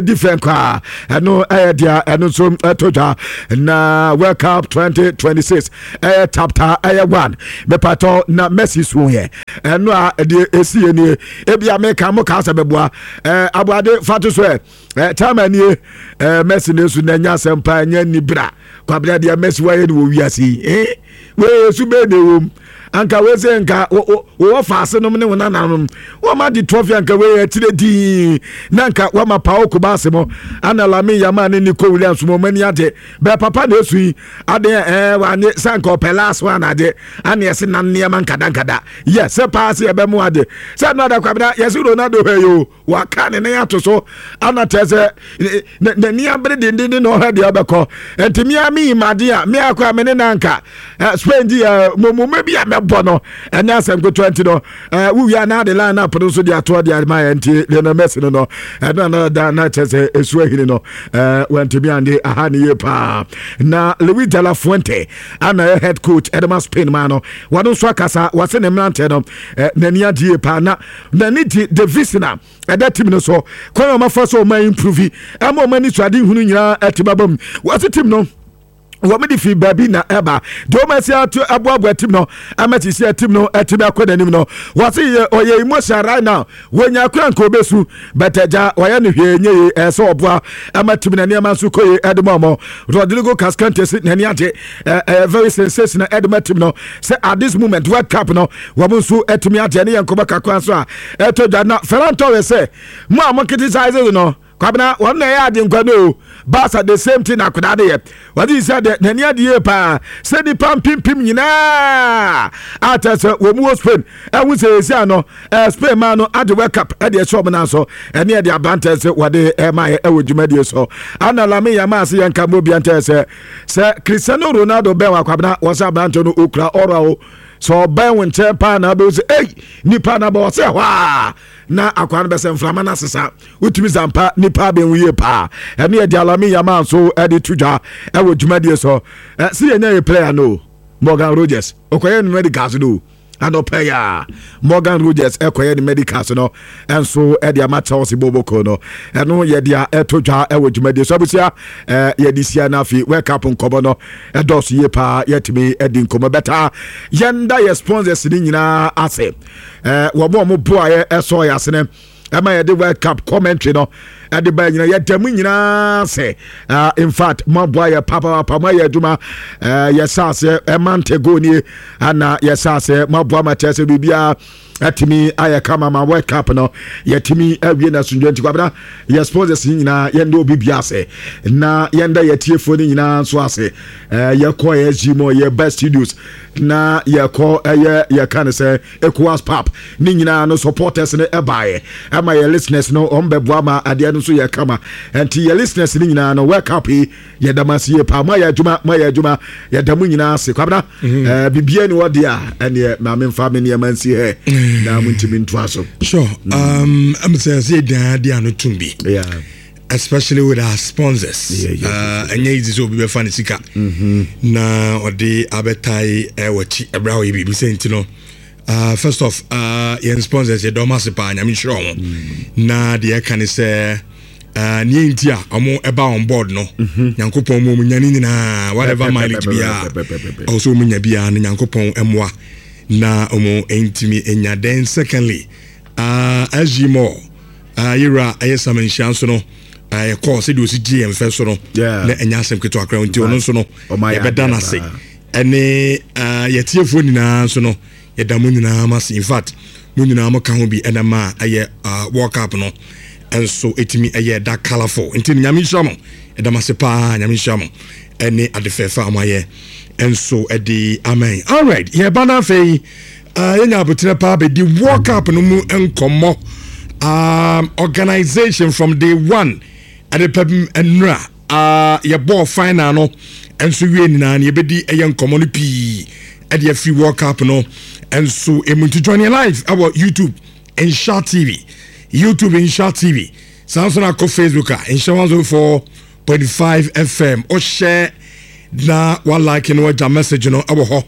Different koraa. Ɛno ɛyɛ deɛ ɛno nso ɛto dwa na World Cup 2026 ɛyɛ chapter ɛyɛ 1 mepatɔ na Messi so yɛ ɛno a ɛdeɛ ɛsi yɛ nie. Ebia meka mo kaa sɛ bɛboa ɛɛ aboade fa to so ɛ ɛɛ chairman nie. Messi ne so na ɛnya asɛm pa, ɛnyɛ ni bra kwabena deɛ Messi wayɛ no wɔ wiase yi. Wei esu bɛɛ na ɛwɔ mu anka wei sɛ nka wɔwɔ faase nom ne wo nananom wɔma de trophy anka wei akyire dii na nka wɔma Pau Cubarsi mo ana Lamine Yamal ne Nico Williams mo mani agye bɛɛ papa na esu yi adeɛ wanye sɛ nka ɔpɛ last one agye ana yɛse nan nneɛma nkadankada yɛ sɛ paa sɛ yɛbɛmo agye sɛ no ada kwabena yɛse Ronaldo hwɛ yi o, waka ne nan ato so ana kyerɛ sɛ n'ani abere dendenden na ɔhwɛ deɛ ɔbɛkɔ. Nti mea me imade a mea kɔ a me ne nanka Spain di mɔmɔmɔ bi a mɛbɔ no ɛne asɛm ketewa. Nti no wowie a na ade line up no nso de atoɔ de ama yɛ. Nti Lionel Messi no ɛno ana da na kyerɛ sɛ ɛsu ahini no wantumi ande aha ne yie paa. Na Luis de la Fuente ana yɛ head coach ɛde ma Spain ma no, wɔno nso akasa, wɔse ne mmeranteɛ no n'ani agye yie paa na n'ani gye the vision a ɛda team no so, kwan a ɔmafa so ɔma improve ɛma ɔma ani so ade hunu nyinaa ɛte baba mu. Wɔse team no wɔn de fi baabi na ɛba deɛ wɔn asi ato aboaboa team no ama sisi team no ɛtumi akɔ n'anim no. Wɔse yɛ ɔyɛ emotion right now, wɔnya akora nka obesu bɛtɛ gya wɔyɛ no hwee nye yie. Ɛsɛ ɔboa ama team na nneɛma nso kɔ yie ɛde mu ɔmɔ. Rodrigo Cascante si n'ani agye, ɛyɛ very sensational ɛde ma team no sɛ at this moment World Cup no wɔn nso ɛtumi agye. Ɛne yɛn nkɔmɔ kakra nso a ɛtɔ dwa na Ferran Torres sɛ mo a mo criticize no kwabena wɔn na ɛyɛ ade nkwa no o. Barca the same thing na akwadaa de yɛ wɔde sɛ deɛ n'ani ade yie paa sɛ nipa mpempem nyinaa a kyerɛ sɛ wɔn mu wɔ Spain ɛho sɛ esi ano Spain maa no ade World Cup ɛde ɛhyɛ wɔn nan so. Ɛne ɛde aberantɛ sɛ wɔde ɛma yɛ ɛwɔ dwumadie so ana Lamine Yamal se yɛn ka mo obi antɛ sɛ Cristiano Ronaldo bɛn wɔ akwabena wɔ sɛ aberantɛ no okura ɔrɔ o sɛ ɔbɛn wo nkyɛn paa na abɛwo sɛ ei nipa na bɔ ɔsɛ hɔ a na akwa no bɛsɛ mframa no asesa wotumi zampa nipa abɛn yie paa. Ɛne yɛde Lamine Yamal nso ɛde to dwa ɛwɔ dwumadie so si yɛnya yɛ player no Morgan Rogers ɔkɔyɛ no medicals no anɔpɛ yɛ a Morgan Rogers ɛkɔyɛ ne medicals no ɛnso ɛde ama Chelsea boboko no. Ɛno yɛde a ɛto dwa ɛwɔ dwumadie so. Abusua, yɛde sia no afei World Cup nkɔmmɔ no ɛdɔɔso yie paa, yɛtumi ɛdi nkɔmmɔ bɛta. Yɛnda yɛ sponsors no nyinaa ase, wɔn a wɔn boa yɛ ɛsɔ yɛ asene ɛma yɛde World Cup commentary no ɛde ba nyina, yɛda mu nyinaa sɛ in fact mo aboa yɛ papaapa, mo ayɛ adwuma. Yɛhyɛ aseɛ ɛma ntego nie ana yɛhyɛ aseɛ, mo aboa ma kyerɛ sɛ biribiara atumi ayɛ kama ma World Cup no yɛtumi awie na asomdwa. Nti kwabena yɛ sponsors yi nyinaa yɛnda obi bia ase na yɛnda yɛtiefoɔ no nyinaa nso ase. Yɛkɔ SG mu, yɛba studios na yɛkɔ ɛyɛ yɛka no sɛ ECOWAS pap ne nyinaa no supporters no ɛbaeɛ ɛma yɛ listeners no ɔm bɛboa ma adeɛ no nso yɛ kama. Nti yɛ listeners no nyinaa no World Cup yi yɛda mo ase yie paa, moayɛ adwuma, moayɛ adwuma, yɛda mo nyinaa ase. Kwabena, bibia ni hɔ deɛ a ɛneɛ maame mfa me nneɛma nsi hɛ na montumi ntoa so. Sure. Sɛ yɛdan de ano tom bi, especially with our sponsors. Ɛnyɛ easy sɛ obi bɛfa ne sika na ɔde abɛtae ɛwɔ akyi ɛberɛ a ɔyɛ biribi sɛ. Nti no first off, yɛn sponsors yɛdɔ ɔmo ase paa, Nyame nhyira ɔmo. Na deɛ ɛka ne sɛ neɛ nti a ɔmo ɛba on board no, Nyankopɔn mu ɔmo nya ne nyinaa, whatever mileage biara ɔwɔ sɛ ɔmo nya biara no, Nyankopɔn mmoa na ɔmo ntumi nya. Then secondly, SG Mall, yɛwura ɛyɛ Sam Nhyia nso no, yɛkɔɔ sɛdeɛ ɔsi gye yɛn fɛ so no na ɛnyɛ asɛm ketewa koraa. Nti ɔno nso no yɛbɛda no ase. Ɛne yɛtiefoɔ nyinaa nso no yɛda mo nyinaa mo ase. In fact, mo nyinaa mo ka ho bi ɛna ma ɛyɛ World Cup no nso ɛtumi ɛyɛ da colourful. Nti Nyame nhyira mo, ɛda mo ase paa, Nyame nhyira mo ɛne ade fɛɛfɛ a mo ayɛ nso ɛde amen. Alright, yɛba no afei yɛnya aboterɛ paa bɛdi World Cup no mu nkɔmmɔ, organization from day one ɛde pɛm nnura yɛbɔɔ final no nso wie nyinaa no, yɛbɛdi ɛyɛ nkɔmmɔ no pii ɛde afiri World Cup no nso emu. Nti join yɛn live ɛwɔ YouTube Nhyira TV, YouTube Nhyira TV, saa nso na akɔ Facebook a Nhyira 104.5 FM, ɔhyɛ na wa like no, wagya message no ɛwɔ hɔ.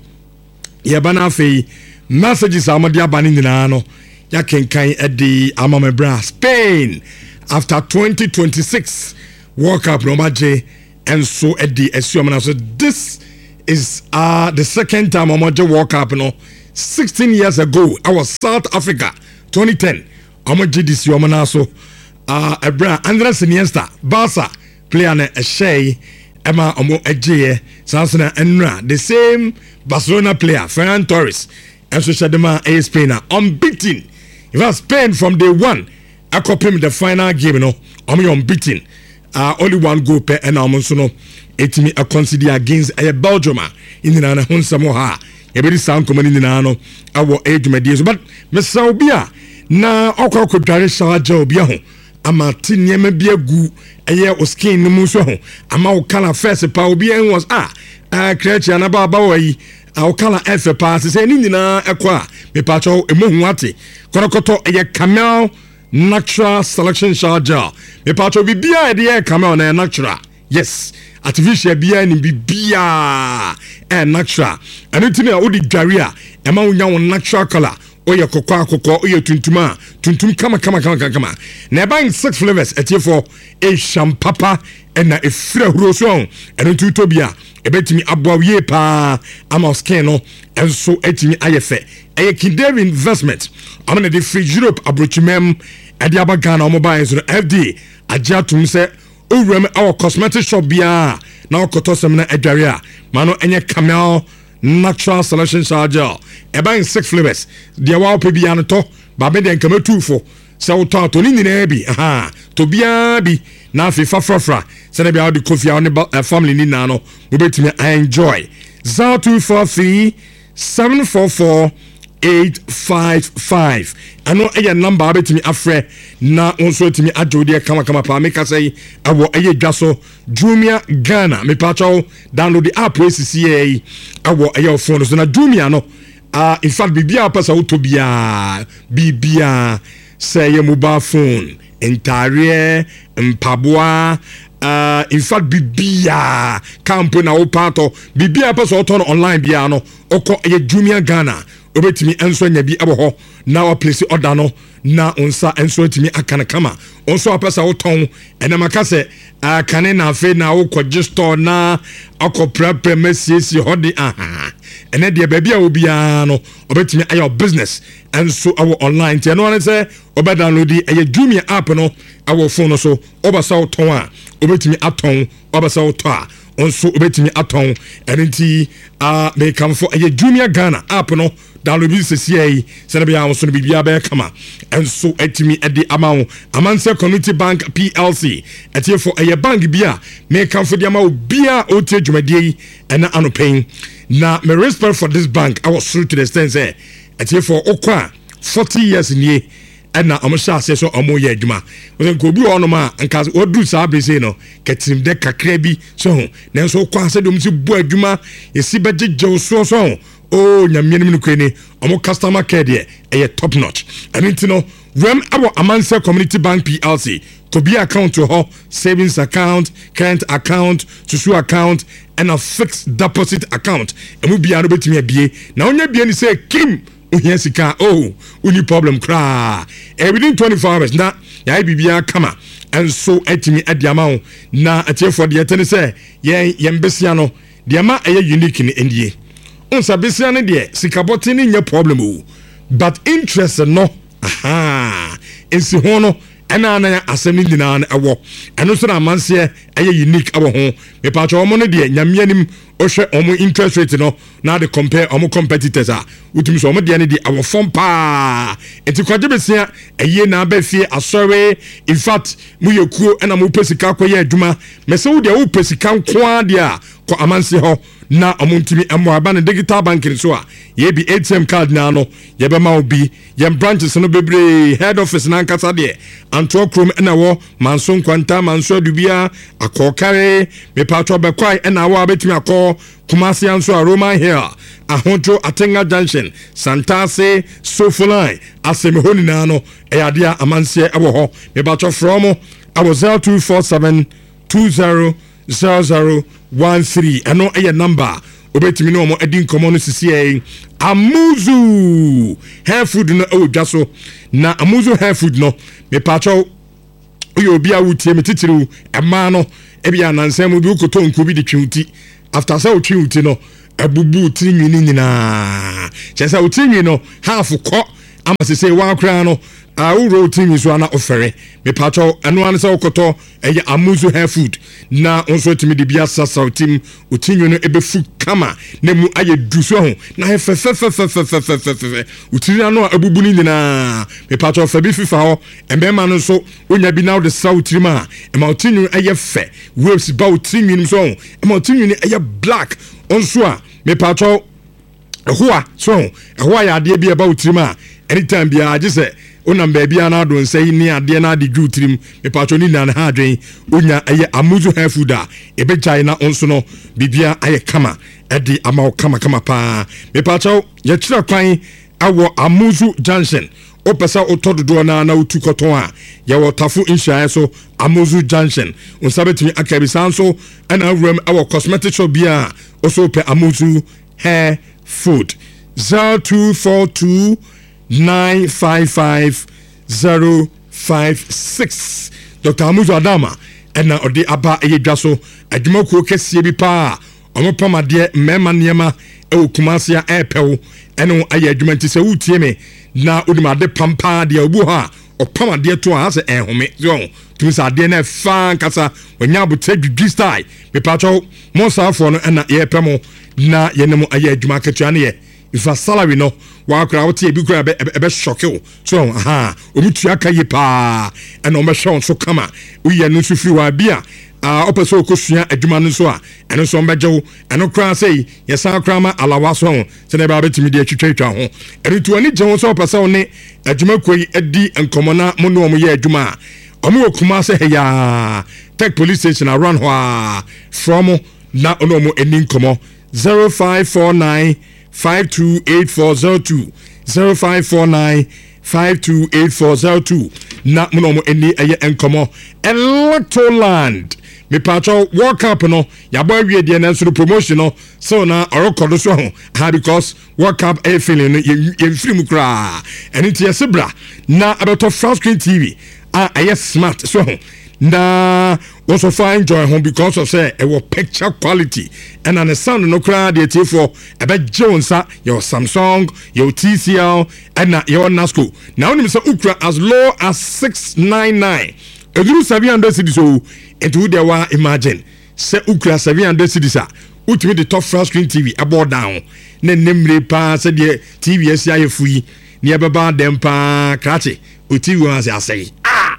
Yɛba no afei messages a wɔde aba no nyinaa no yɛakenkan de ama me berɛ a Spain. After 2026 World Cup na wɔn agye nso de asi wɔn nan so. This is the second time wɔn agye World Cup no. 16 years ago ɛwɔ South Africa 2010 wɔn gye de si wɔn nan so. Ɛberɛ a Andres Iniesta, Barca player no ɛhyɛe ɛma wɔn agyeeɛ. Saa nso na ɛnura the same Barcelona player Ferran Torres ɛnso hyɛ de ma ɛyɛ Spain a unbeaten. In fact, Spain from day one ɛkɔpem the final game no wɔn yɛ unbeaten. Only one goal pɛ ɛna wɔn nso no ɛtumi ɛconcede against ɛyɛ Belgium a nyinaa no ho nsɛm wɔ ha a yɛbɛdi saa nkɔmɔ no nyinaa no ɛwɔ ɛyɛ dwumadie so. But mesrɛ obi a na ɔkɔ akɔdware shower gel bi ho ama te nneɛma bi agu ɛyɛ o skin no mu nso ho ama wo color first pa obi ɛn was a krɛkye anaba abawa yi wo color ɛfɛ paa sɛ sɛ ne nyinaa ɛkɔ a mepaakyɛw emu ho ate kɔrɔkɔtɔ ɛyɛ Camel Natural Selection Shower Gel. Mepaakyɛw biribiara a yɛde yɛ Camel na ɛyɛ natural. Yes, artificial biara nim biribiara ɛyɛ natural. Ɛno nti na wode dware a ɛma wonya wo natural color. Woyɛ kɔkɔɔ a kɔkɔɔ, woyɛ tuntum a tuntum kama kama kama kama. Na ɛba in six flavors atiefoɔ ɛhwam papa ɛna ɛfiri ahuro so ɛho. Ɛno nti wotɔ bi a ɛbɛtumi aboa wo yie paa ama skin no nso atumi ayɛ fɛ. Ɛyɛ Kindave Investment ɔmo na de firi Europe aburokyimam ɛde aba Ghana. Ɔmo baeɛ nso no FDA agye atom sɛ owura mu ɛwɔ cosmetic shop biara na ɔkɔtɔ sɛm na adware a ma no ɛnyɛ Camel Natural Selection Shower Gel. Ɛba in six flavors. Deɛ wa wopɛ biara no tɔ. Baabe deɛ nka mɛtu fo sɛ wotɔ atɔ ne nyinaa bi aha tɔ biara bi na afei fa frafra sɛdeɛ bia wode kɔ fie a wo ne family ne nyinaa no mobɛtumi enjoy. 0243 744 855 ɛno ɛyɛ number a wobɛtumi afrɛ na wo nso atumi agye wo deɛ kamakama paa. Meka sɛ yi ɛwɔ ɛyɛ dwa so Jumia Ghana. Mepakyɛw download the app esisi yɛ yi ɛwɔ ɛyɛ wo phone so na Jumia no in fact biribiara wopɛ sɛ wotɔ biara, biribiara sɛ ɛyɛ mobile phone, ntaareɛ, mpaboa, in fact biribiara, car mpo na wopɛ atɔ, biribiara pɛ sɛ ɔtɔ no online biara no ɔkɔ ɛyɛ Jumia Ghana wobɛtumi nso anya bi ɛwɔ hɔ na waplace order no na wo nsa nso atumi aka no kama. Wo nso apɛ sɛ wotɔn ɛnam aka sɛ kane na afei na wokɔgye store na akɔprapra ma siesie hɔ de aha ɛnɛ deɛ baabi a obiara no ɔbɛtumi ayɛ business nso ɛwɔ online. Nti ɛno ara sɛ wobɛ download ɛyɛ Jumia app no ɛwɔ phone no so. Wobɛ sɛ wotɔn a wobɛtumi atɔn, wobɛ sɛ wotɔ a nso wobɛtumi atɔn. Ɛno nti mekamfo ɛyɛ Jumia Ghana app no, download bi sɛsia yi sɛne bɛyɛ a wo so no biribiara bɛyɛ kama ɛnso atumi de ama wo. Amansɛ Community Bank PLC ɛtiefo ɛyɛ bank bi a mekamfo de ama wo bia a ɔtie dwumadie yi ɛna anɔpɛn na me respect for this bank ɛwɔ soro to the extent sɛ ɛtiefo wokɔ a 40 years nie ɛna ɔmo hyɛ aseɛ sɛ ɔmo yɛ adwuma. Wɔsɛ nka obi wɔ hɔnom a nka wɔduru saa bere sei no kɛtirim dɛ kakra bi so ho, nanso wokɔ a sɛdeɛ ɔmo si bɔ adwuma yɛsi bɛgyegye wo soɔ so ho o Nyame anim no kure ni ɔmo customer care deɛ ɛyɛ top notch. Ɛno nti no wɛm ɛwɔ Amansɛ Community Bank PLC kɔbie account wɔ hɔ, savings account, current account, susu account ɛna fixed deposit account. Ɛmu biara no bɛtumi abie na wonya bie ne sɛ kim ohia sika oh wonni problem koraa. Within 24 hours na yɛayɛ biribiara kama ɛnso atumi adi ama wo. Na atiefoɔ deɛ ɛte ne sɛ yɛn besia no deɛ ma ɛyɛ unique no nie. Nsa besia no deɛ sikabɔten no nyɛ problem o, but interest no aha nsi ho no ɛna na asɛm no nyinaa no ɛwɔ. Ɛno nso na amanseɛ ɛyɛ unique ɛwɔ ho. Mepatwɛ wɔn no deɛ Nyame anim wohwɛ wɔn interest rate no na de compare wɔn competitors a wotumi sɛ wɔn deɛ no deɛ ɛwɔ fam paa. Nti kwagye besia ɛyie na abɛ fie asɔre. In fact moyɛ kuo ɛna mopɛ sika akɔyɛ adwuma mɛsɛ wo deɛ wopɛ sika nko ara deɛ a kɔ amanseɛ hɔ na ɔmo ntumi mmoa. Ɛba no digital banking so a yɛbi ATM card naa no yɛbɛma wo bi. Yɛn branches no bebree, head office n'ankasa deɛ Antoa kurom ɛna ɛwɔ Manso Nkwanta, Manso Adubia, Akɔɔkare, mepatwɔ Bɛkwae ɛna awɔ a bɛtumi akɔ Kumasi nso a Roman Hill, Ahodwo, Atenga Junction, Santase, Sofoline, asɛm hɔ nyinaa no ɛyɛ adeɛ a amanseɛ ɛwɔ hɔ. Mepatwɔ frɛ mo ɛwɔ 0247 20 0013. Ɛno ɛyɛ number a wobɛtumi ne wɔn adi nkɔmmɔ no sisiɛ. Amuzu hair food no ɛwɔ dwa so na Amuzu hair food no mepatwɔ Woyɛ obi a wotie me, titiriw mmaa no, ebi anansa mu bi wokɔtɔ nku bi de twe wo ti. After sɛ wotwe wo ti no, abubu wo tiri nwi no nyinaa. Kyerɛ sɛ wo tiri nwi no half kɔ ama sese waa koraa no, wowura wo tiri nwi so ana wofɛre. Mepatwɔ, ɛno ara ne sɛ wokɔtɔ ɛyɛ Amuzu hair food na wo nso atumi de bi asrasra wo tim. Wo tiri nwi no ɛbɛfu kama na mu ayɛ du so ho na ayɛ fɛfɛfɛfɛfɛfɛfɛ. Wo tiri ano a abubu no nyinaa, mepatwɔ, fa bi fifa hɔ. Mmarima no nso, wonya bi na wode sra wo tirim a, ɛma wo tiri nwi ɛyɛ fɛ. Waves ba wo tiri nwi no so ho, ɛma wo tiri nwi no ɛyɛ black nso a. Mepatwɔ, ɛhoa so ho, ɛhoa yɛ adeɛ bi a ɛba wo tirim a, anytime biara gye sɛ wonam baabi a na ado nsa yi ne adeɛ na ade dwu tirim. Mepatwɔ, ne nyinaa ne ha adwen. Wonya ɛyɛ Amuzu hair food a, ɛbɛgyae na wo nso no biribia ayɛ kama ɛde ama wo kamakama paa. Mepatwɔ, yɛkyerɛ kwan ɛwɔ Amuzu Junction. Wopɛ sɛ wotɔ dodoɔ no ara na wotu kɔtɔn a, yɛwɔ Tafo nhyiaeɛ so, Amuzu Junction. Wo nsa bɛtumi aka bi. Saa nso ɛna awuram ɛwɔ cosmetic shop bi a wo so wopɛ Amuzu hair food. 0242 955 056. Dr. Amuzu Adama ɛna ɔde aba ɛyɛ dwa so adwumakuo kɛseɛ bi paa. Wɔpam adeɛ, mmarima nneɛma wɔ Kumasi a ɛrepɛ wo ɛne wo ayɛ adwuma. Nti sɛ woretie me na wonim ade pam paa deɛ, obi wɔ hɔ a ɔpam adeɛ to a asɛ ɛnhome so ɔho tumi sɛ adeɛ no ɛfa ankasa wɔnya abotire dwidwi style. Mepatwɛw mo saafoɔ no ɛna yɛrepɛ mo na yɛne mo ayɛ adwuma. Akatua no yɛ nfa salary no wakora wote ebi kora ɛbɛ ɛbɛ shock wo so ɔho aha. Wɔn tua ka yie paa ɛna wɔn bɛhwɛ wɔn so kama. Woyɛ no nso firi hɔ a bi a ɔpɛ sɛ ɔkɔsua adwuma no nso a, ɛno nso ɔmbɛgye wo. Ɛno koraa sɛ yɛsan koraa ma alawa so ho sɛdeɛ ɛbɛa bɛtumi de atwitwatwa ho. Ɛno nti w'ani gye ho sɛ ɔpɛ sɛ wo ne adwumakuo yi di nkɔmmɔ na mo ne wɔn yɛ adwuma a, ɔmo wɔ Kumase ha yi ara, Tech Police Station around hɔ a. Frɛ ɔmo na ɔne ɔmo ani nkɔmmɔ 0549 528402, 0549 528402 na mo na ɔmo ani ɛyɛ nkɔmmɔ. Electroland, mepatwɔ, World Cup no yɛabɔ awie deɛ, nanso no promotion no so na ɔrekɔ do so ho ha because World Cup ɛyɛ feeling no yɛmfiri mu koraa. Ɛno nti yɛse bra na ɛbɛtɔ flat screen TV a ɛyɛ smart so ho na wɔsɔ fa enjoy ho because of sɛ ɛwɔ picture quality ɛna ne sound no koraa deɛ, tiefoɔ, ɛbɛgye wo nsa. Yɛwɔ Samsung, yɛwɔ TCL, ɛna yɛwɔ Nasco. Na wonim sɛ wokura as low as 699, ɛduru 700 cedis o. Nti wo deɛ wa imagine sɛ wokura 700 cedis a, wotumi de tɔ flat screen TV ɛbɔ down na nnɛ mmire paa sɛdeɛ TV asi ayɛ fo yi ne ɛbɛba dɛm paa. Krakye o, TV wɔn ase asɛe ah,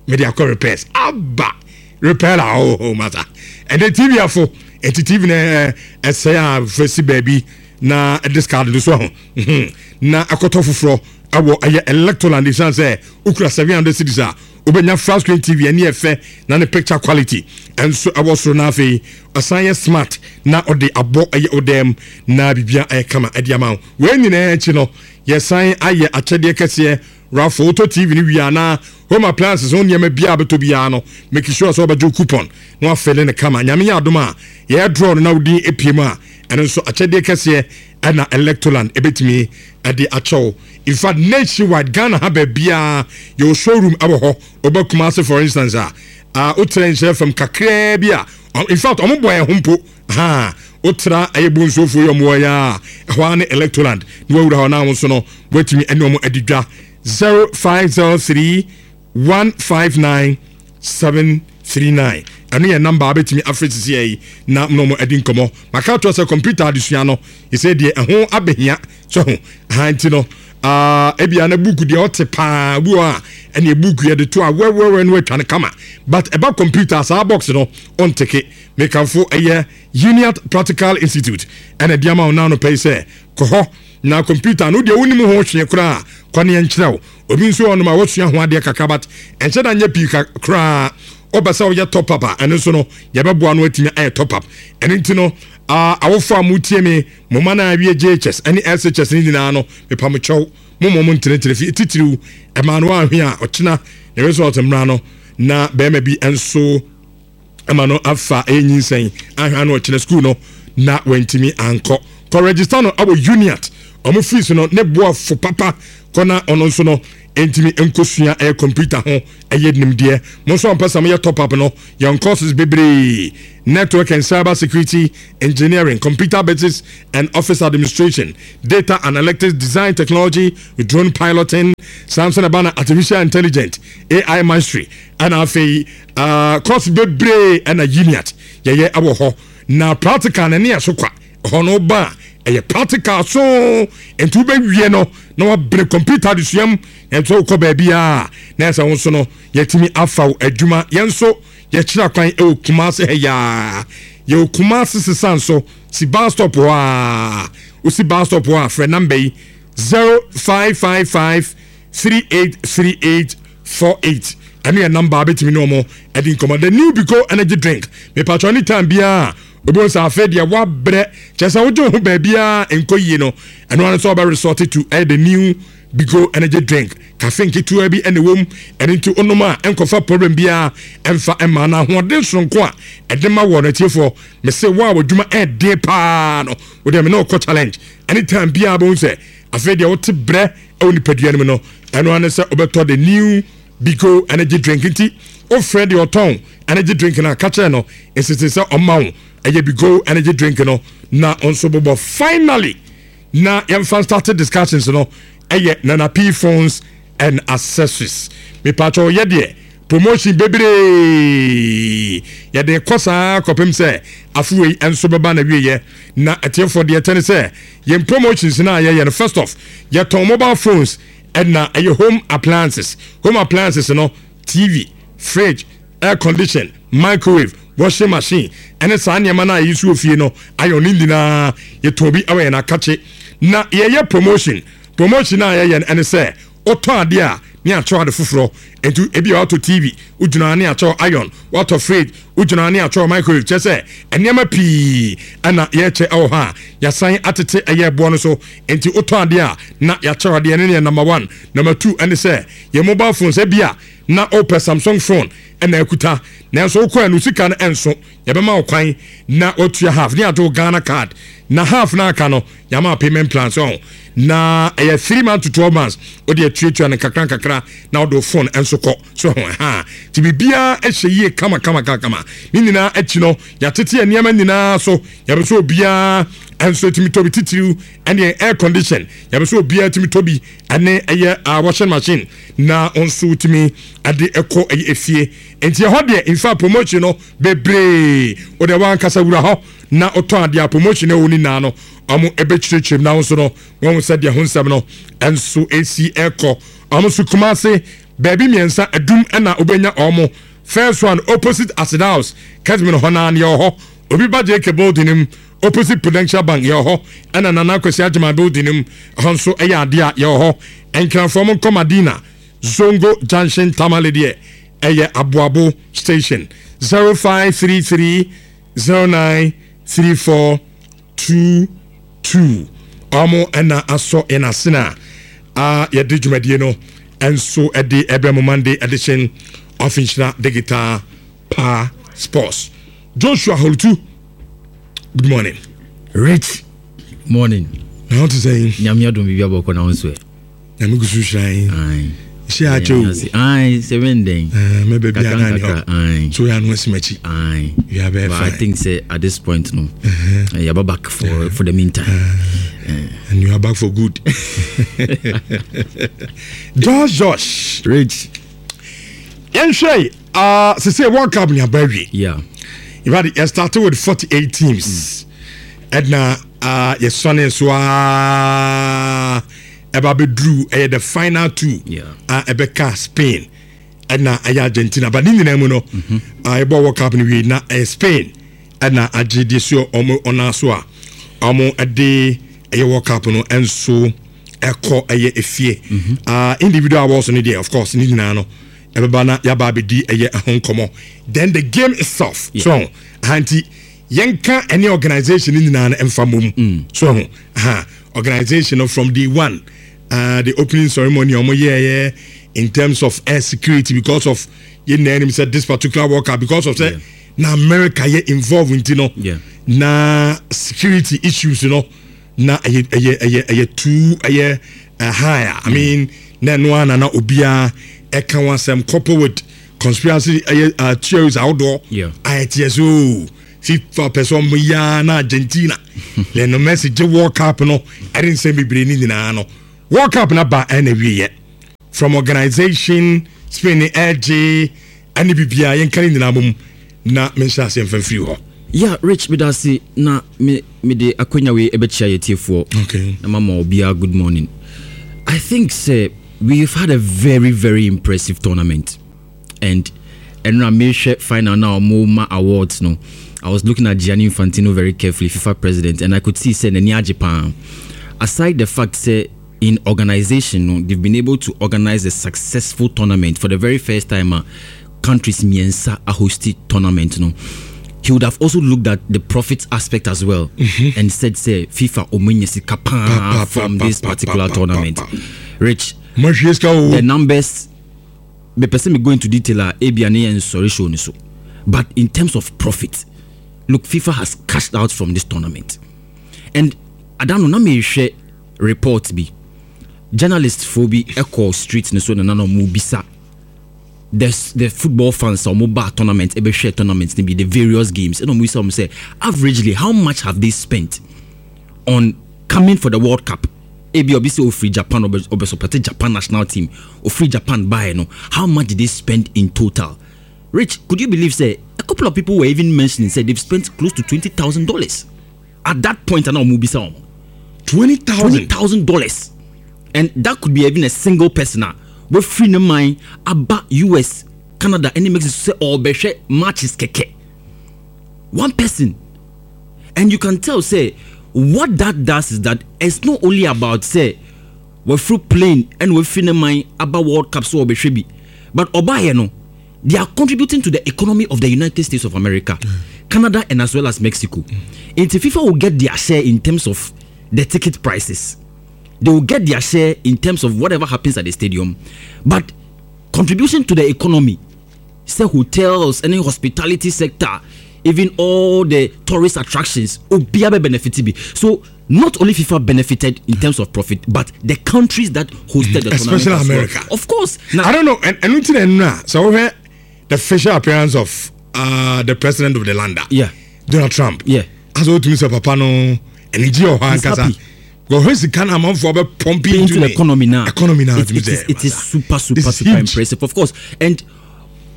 mede akɔ repairs aba repair a oh, oh masa ɛnɛ TV afo. Nti TV no ɛsɛe a, fɛsi baabi na discard no so ho na akɔtɔ foforɔ ɛwɔ ɛyɛ Electroland. Ɛsiane sɛ wokura 700 cedis a, wobɛnya flat screen TV ɛne ɛfɛ na ne picture quality ɛnso ɛwɔ soro na afei ɔsan yɛ smart na ɔde abɔ ɛyɛ ɔdɛm na biribia ɛyɛ kama ɛde ama wo. Wei nyinaa akyi no, yɛsan ayɛ akyɛdeɛ kɛseɛ raffle. Wotɔ TV no wie anaa home appliances ho nneɛma biara bɛtɔ biara no, make sure sɛ wobɛgye wo coupon na wafɛle no kama. Nyame yɛ adom a, yɛyɛ draw no na wodin epie mu a, ɛno nso akyɛdeɛ kɛseɛ ɛna Electroland ɛbɛtumi ɛde akyɛw. In fact, nationwide, Ghana ha baabiara yɛwɔ showroom ɛwɔ hɔ. Ɔba Kumase for instance a, wotrɛ nhyerɛ fam kakraa bi a, in fact ɔmo bɔ yɛn ho mpo ha. Wotra ɛyɛ Bonsuofoɔ yi, ɔmo wɔ yɛ a, ɛhɔ ara ne Electroland na wawura hɔ na wo nso no woatumi ɛne ɔmo adi dwa. 0503 159 739, ɛno yɛ number a wobɛtumi afrɛ sisi yi na mo na ɔmo adi nkɔmmɔ. Maka ato sɛ computer adesua no ɛsɛ deɛ ɛho abɛhia sɛ ho ha nti no, ebia na book deɛ ɔte paa bi wɔ a, ɛne book yɛ de to a wɛwɛwɛ no atwa no kama, but ɛba computer saa box no ɔnteke. Mekamfo ɛyɛ Uniat Practical Institute ɛna ɛde ama wo naano pɛ yi sɛ kɔ hɔ na computer no deɛ wonim ho hwee koraa, kɔ ne yɛnkyerɛ wo. Obi nso wɔ nom a wɔsua ho adeɛ kakra but ɛnhyɛ da nyɛ pii koraa, wopɛ sɛ woyɛ top up a, ɛno nso no yɛbɛboa no atumi ayɛ top up. Ɛno nti no, awofo a motie me, mo ma no awie JHS ne SHS no nyinaa no, mepa mo kyɛw, mo mo ntenetene fi titiriw ɛma no ahwe a ɔkyena ne result mmra no na bɛrima bi nso ama no afa ɛyɛ nyinsɛn ahwɛ ano ɔkyena school no na wantumi ankɔ. Kɔ register no awɔ Uniat. Ɔmo fees no ne boa fo papa kɔ na ɔno nso no ntumi nkosua ɛyɛ computer ho ɛyɛ nimdeɛ. Mo nso a mpɛ sɛ moyɛ top up no, yɛn courses bebree: network and cyber security engineering, computer basics and office administration, data analytics, design technology, drone piloting, saa nso na ɛba na artificial intelligence, AI mastery, ɛna afei course bebree ɛna Uniat yɛyɛ ɛwɔ hɔ. Na practical na ɛne ɛso kwa hɔ no ba a, ɛyɛ practical so, nti wobɛwie no na wabere computer adesuam. Ɛnso wokɔ baabi a na ɛsɛ wo nso no yɛtumi afa wo adwuma. Yɛn nso yɛkyerɛ kwan ɛwɔ Kumase ha yaa. Yɛwɔ Kumase sesa nso si bus stop hɔ a, wosi bus stop hɔ a, frɛ number yi, 0555 383848. Ɛno yɛ number a bɛtumi ne ɔmo ɛde nkɔmmɔ. The new Biko energy drink, mepatwɔ ne time biara obi sɛ afei deɛ wabrɛ, kyerɛ sɛ wogye wo ho baabiara nkɔ yie no, ɛno ano sɛ wɔbɛ resort to ɛyɛ the new Biko energy drink. Cafe nketewa bi ɛna ɛwɔ mu. Ɛno nti onom a, ɛnkɔfa problem biara ɛmfa ɛma no. Ahoɔden soronko a ɛde ma wɔ no, atiefoɔ, mese wo a w'adwuma ɛɛden paa no, wode me ne wokɔ challenge. Anytime biara bɛhu sɛ afei deɛ wote brɛ ɛwɔ nipadua no mu no, ɛno ano sɛ wobɛtɔ the new Biko energy drink. Nti wofrɛ deɛ ɔtɔn energy drink no a, ka kyerɛ no ɛsese sɛ ɔma wo ɛyɛ Biko energy drink no na ɔnso bobɔ. Finally, na yɛmfa start discussions no, ɛyɛ Nana P Phones and Accessories. Mepatwɛ, yɛ deɛ promotion bebree yɛde kɔ saa kɔpem sɛ afewei nso bɛba na wieyɛ. Na ɛtiefoɔ, deɛ ɛtɛ ne sɛ yɛn promotions no a yɛyɛ no, first off, yɛtɔn mobile phones ɛna ɛyɛ home appliances. Home appliances no, TV, fridge, air condition, microwave, washing machine, ɛne saa nneɛma no a yɛyi so wɔ fie no, ayɔ ne nyinaa yɛtɔn bi ɛwɔ yɛn akakye. Na yɛyɛ promotion. A yɛyɛ no ɛne sɛ wotɔ adeɛ a, ne akyɛw ade foforɔ. Nti ebi a watɔ TV, wogyina ne akyɛw iron, watɔ fridge, wogyina ne akyɛw microwave. Kyerɛ sɛ nneɛma pii ɛna yɛkyɛ ɛwɔ hɔ a yɛasan atete ɛyɛ ɛboɔ no so. Nti wotɔ adeɛ a, na yɛakyɛw adeɛ no. Ne yɛ number one. Number two ɛne sɛ yɛ mobile phones. Ebi a na wopɛ Samsung phone ɛna akuta, nanso wokɔ ɛno sika no ɛnso, yɛbɛma wo kwan na watua half ne ato Ghana Card, na half na aka no yɛama payment plan so, na ɛyɛ 3 months to 12 months. Wode atuatua no nkakra nkakra na wode wo phone nso kɔ so ho ha. Nti biribiara ɛhyɛ yie kama kama kama kama. Ne nyinaa akyi no, yɛatete nneɛma nyinaa so. Yɛbɛ sɛ obiara nso tumi tɔ bi, titiriw ɛne air condition. Yɛbɛ sɛ obiara tumi tɔ bi, ɛne ɛyɛ washing machine, na nso tumi ɛde ɛkɔ ɛyɛ efie. Nti ɛhɔ deɛ, in fact, promotion no bebree. Wode wankasa wura hɔ na wotɔ adeɛ a, promotion ɛwɔ ne nyinaa no, ɔmo ɛbɛkyerɛkyerɛ mu na nso no wɔn sɛ deɛ ho nsɛm no ɛnso esi ɛkɔ. Ɔmo nso Kumase baabi mmiɛnsa, Adum ɛna wobɛnya ɔmo. First one, opposite Acid House, Kɛtmin hɔ naa yɛ wɔ hɔ. Obi ba JK building mu, opposite Prudential Bank, yɛ wɔ hɔ. Ɛna Nana Akwasi Agyeman building mu hɔ nso ɛyɛ adeɛ a yɛ wɔ hɔ. Nkranfoɔ mo nkɔ Madina Zongo Junction. Tamale deɛ, ɛyɛ Aboabo Station. 0533093422. Ɔmo ɛna asɔ yɛn asena a yɛde dwumadie no ɛnso ɛde ɛbɛ mo Monday edition of Nhyira Digital Pa Sports. Joshua Holutu, good morning. Rich, morning. Na wote sɛ? Nyame adom, biribi abɔkɔ. Na wo nso ɛ? Nyame gu so hyira yɛn. Hyɛ akyɛ o. Aye, sɛ bɛn dɛn. Mɛbɛ bi ana ne hɔ so yɛ ano asi m'akyi. Aye. You are very But fine. I think say at this point no, yɛba back for the meantime. And you are back for good. Josh, Josh. Rich. Yɛnhwɛ sese World Cup ni aba awie. In fact, yɛ started with 48 teams. Ɛna yɛsɔne so a ɛba bɛduru ɛyɛ the final two a ɛbɛka Spain ɛna ɛyɛ Argentina. But ne nyinaa mu no, yɛbɔ World Cup no wie na ɛyɛ Spain ɛna agye deɛ so ɔmo ɔna so a ɔmo ɛde ɛyɛ World Cup no ɛnso ɛkɔ ɛyɛ efie. Individual awards no deɛ, of course, ne nyinaa no ɛbɛba na yaba abɛdi ɛyɛ ɛho nkɔmɔ. Then the game itself. So ahanti yɛnka ɛne organisation no nyinaa no ɛmfa mmom so ho aha. Organisation no from day one, the opening ceremony ɔmo yɛɛyɛ in terms of air security, because of yɛn nyinaa anim sɛ this particular World Cup, because of sɛ na America yɛ involved nti no, na security issues no. Na ɛyɛ ɛyɛ ɛyɛ ɛyɛ too ɛyɛ high a, I mean, na ɛno ara na na obiara ɛka ho asɛm, couple with conspiracy ɛyɛ theories ahodoɔ a ɛteɛ so FIFA pɛ sɛ ɔmo yaa na Argentina Lionel Messi gye World Cup no, ɛde nsɛm bebree ne nyinaa no. World Cup na ba ɛna wieɛ from organization, Spain ne ɛgye ɛne biribiara, yɛnka ne nyinaa mom na menhyɛ aseɛ mfa mfiri hɔ. Yeah, Rich, meda ase na me mede akwanya wei ɛbɛkyia yɛ tiefoɔ na mama obiara good morning. I think sɛ we've had a very very impressive tournament, and ɛnora mehwɛ final na ɔmo ma awards no, I was looking at Gianni Infantino very carefully, FIFA president, and I could see sɛ n'ani agye paa. Aside the fact sɛ in organization no, they've been able to organize a successful tournament for the very first time a countries mmiɛnsa ahosti tournament no, he would have also looked at the profit aspect as well and said sɛ FIFA ɔmo anya sika paa from this particular tournament. Rich, mahwie sika o. The numbers, mepɛ sɛ me go into detail a, ebia ne yɛn nsɔre show no so, but in terms of profit, look, FIFA has cashed out from this tournament. And adano na mehwɛ report bi, journalist fo bi ɛkɔ street no so na ɔmo bisa the football fans a ɔmo ba tournament, ɛbɛhwɛ tournament no bi, the various games, ɛna ɔmo bisa ɔmo sɛ averagely how much have they spent on coming for the World Cup. Ebi obi sɛ ofiri Japan, ɔbɛ support Japan national team, ofiri Japan baeɛ no, how much did they spend in total? Rich, could you believe sɛ a couple of people were even mentioning sɛ they've spent close to $20,000 at that point? Ana ɔmo bisa ɔmo 20,000. $20,000, and that could be even a single person a wafiri ne man aba US, Canada ɛne Mexico sɛ ɔbɛhwɛ matches kɛkɛ, one person. And you can tell sɛ what that does is that it's not only about sɛ wafiri plane ɛna wafiri ne man aba World Cup so ɔbɛhwɛ bi, but ɔbaayɛ no, they are contributing to the economy of the United States of America, Canada and as well as Mexico. Nti FIFA will get their share in terms of the ticket prices, they will get their share in terms of whatever happens at the stadium, but contribution to the economy, sɛ hotels any hospitality sector, even all the tourist attractions, obiara bɛ benefit bi. So not only FIFA benefited in terms of profit, but the countries that hosted the Especially tournament as well. America. Of course. Now, I don't know, and ɛno ti na ɛno a sɛ wohwɛ the facial appearance of the president of the land, Donald Trump, asɛ wotumi sɛ papa no anigye wɔ hɔ He's ankasa. Happy. Wɔhwɛ sika no amanfoɔ bɛ pump into the economy now. Economy now. It is super super This is super huge. Impressive, of course. And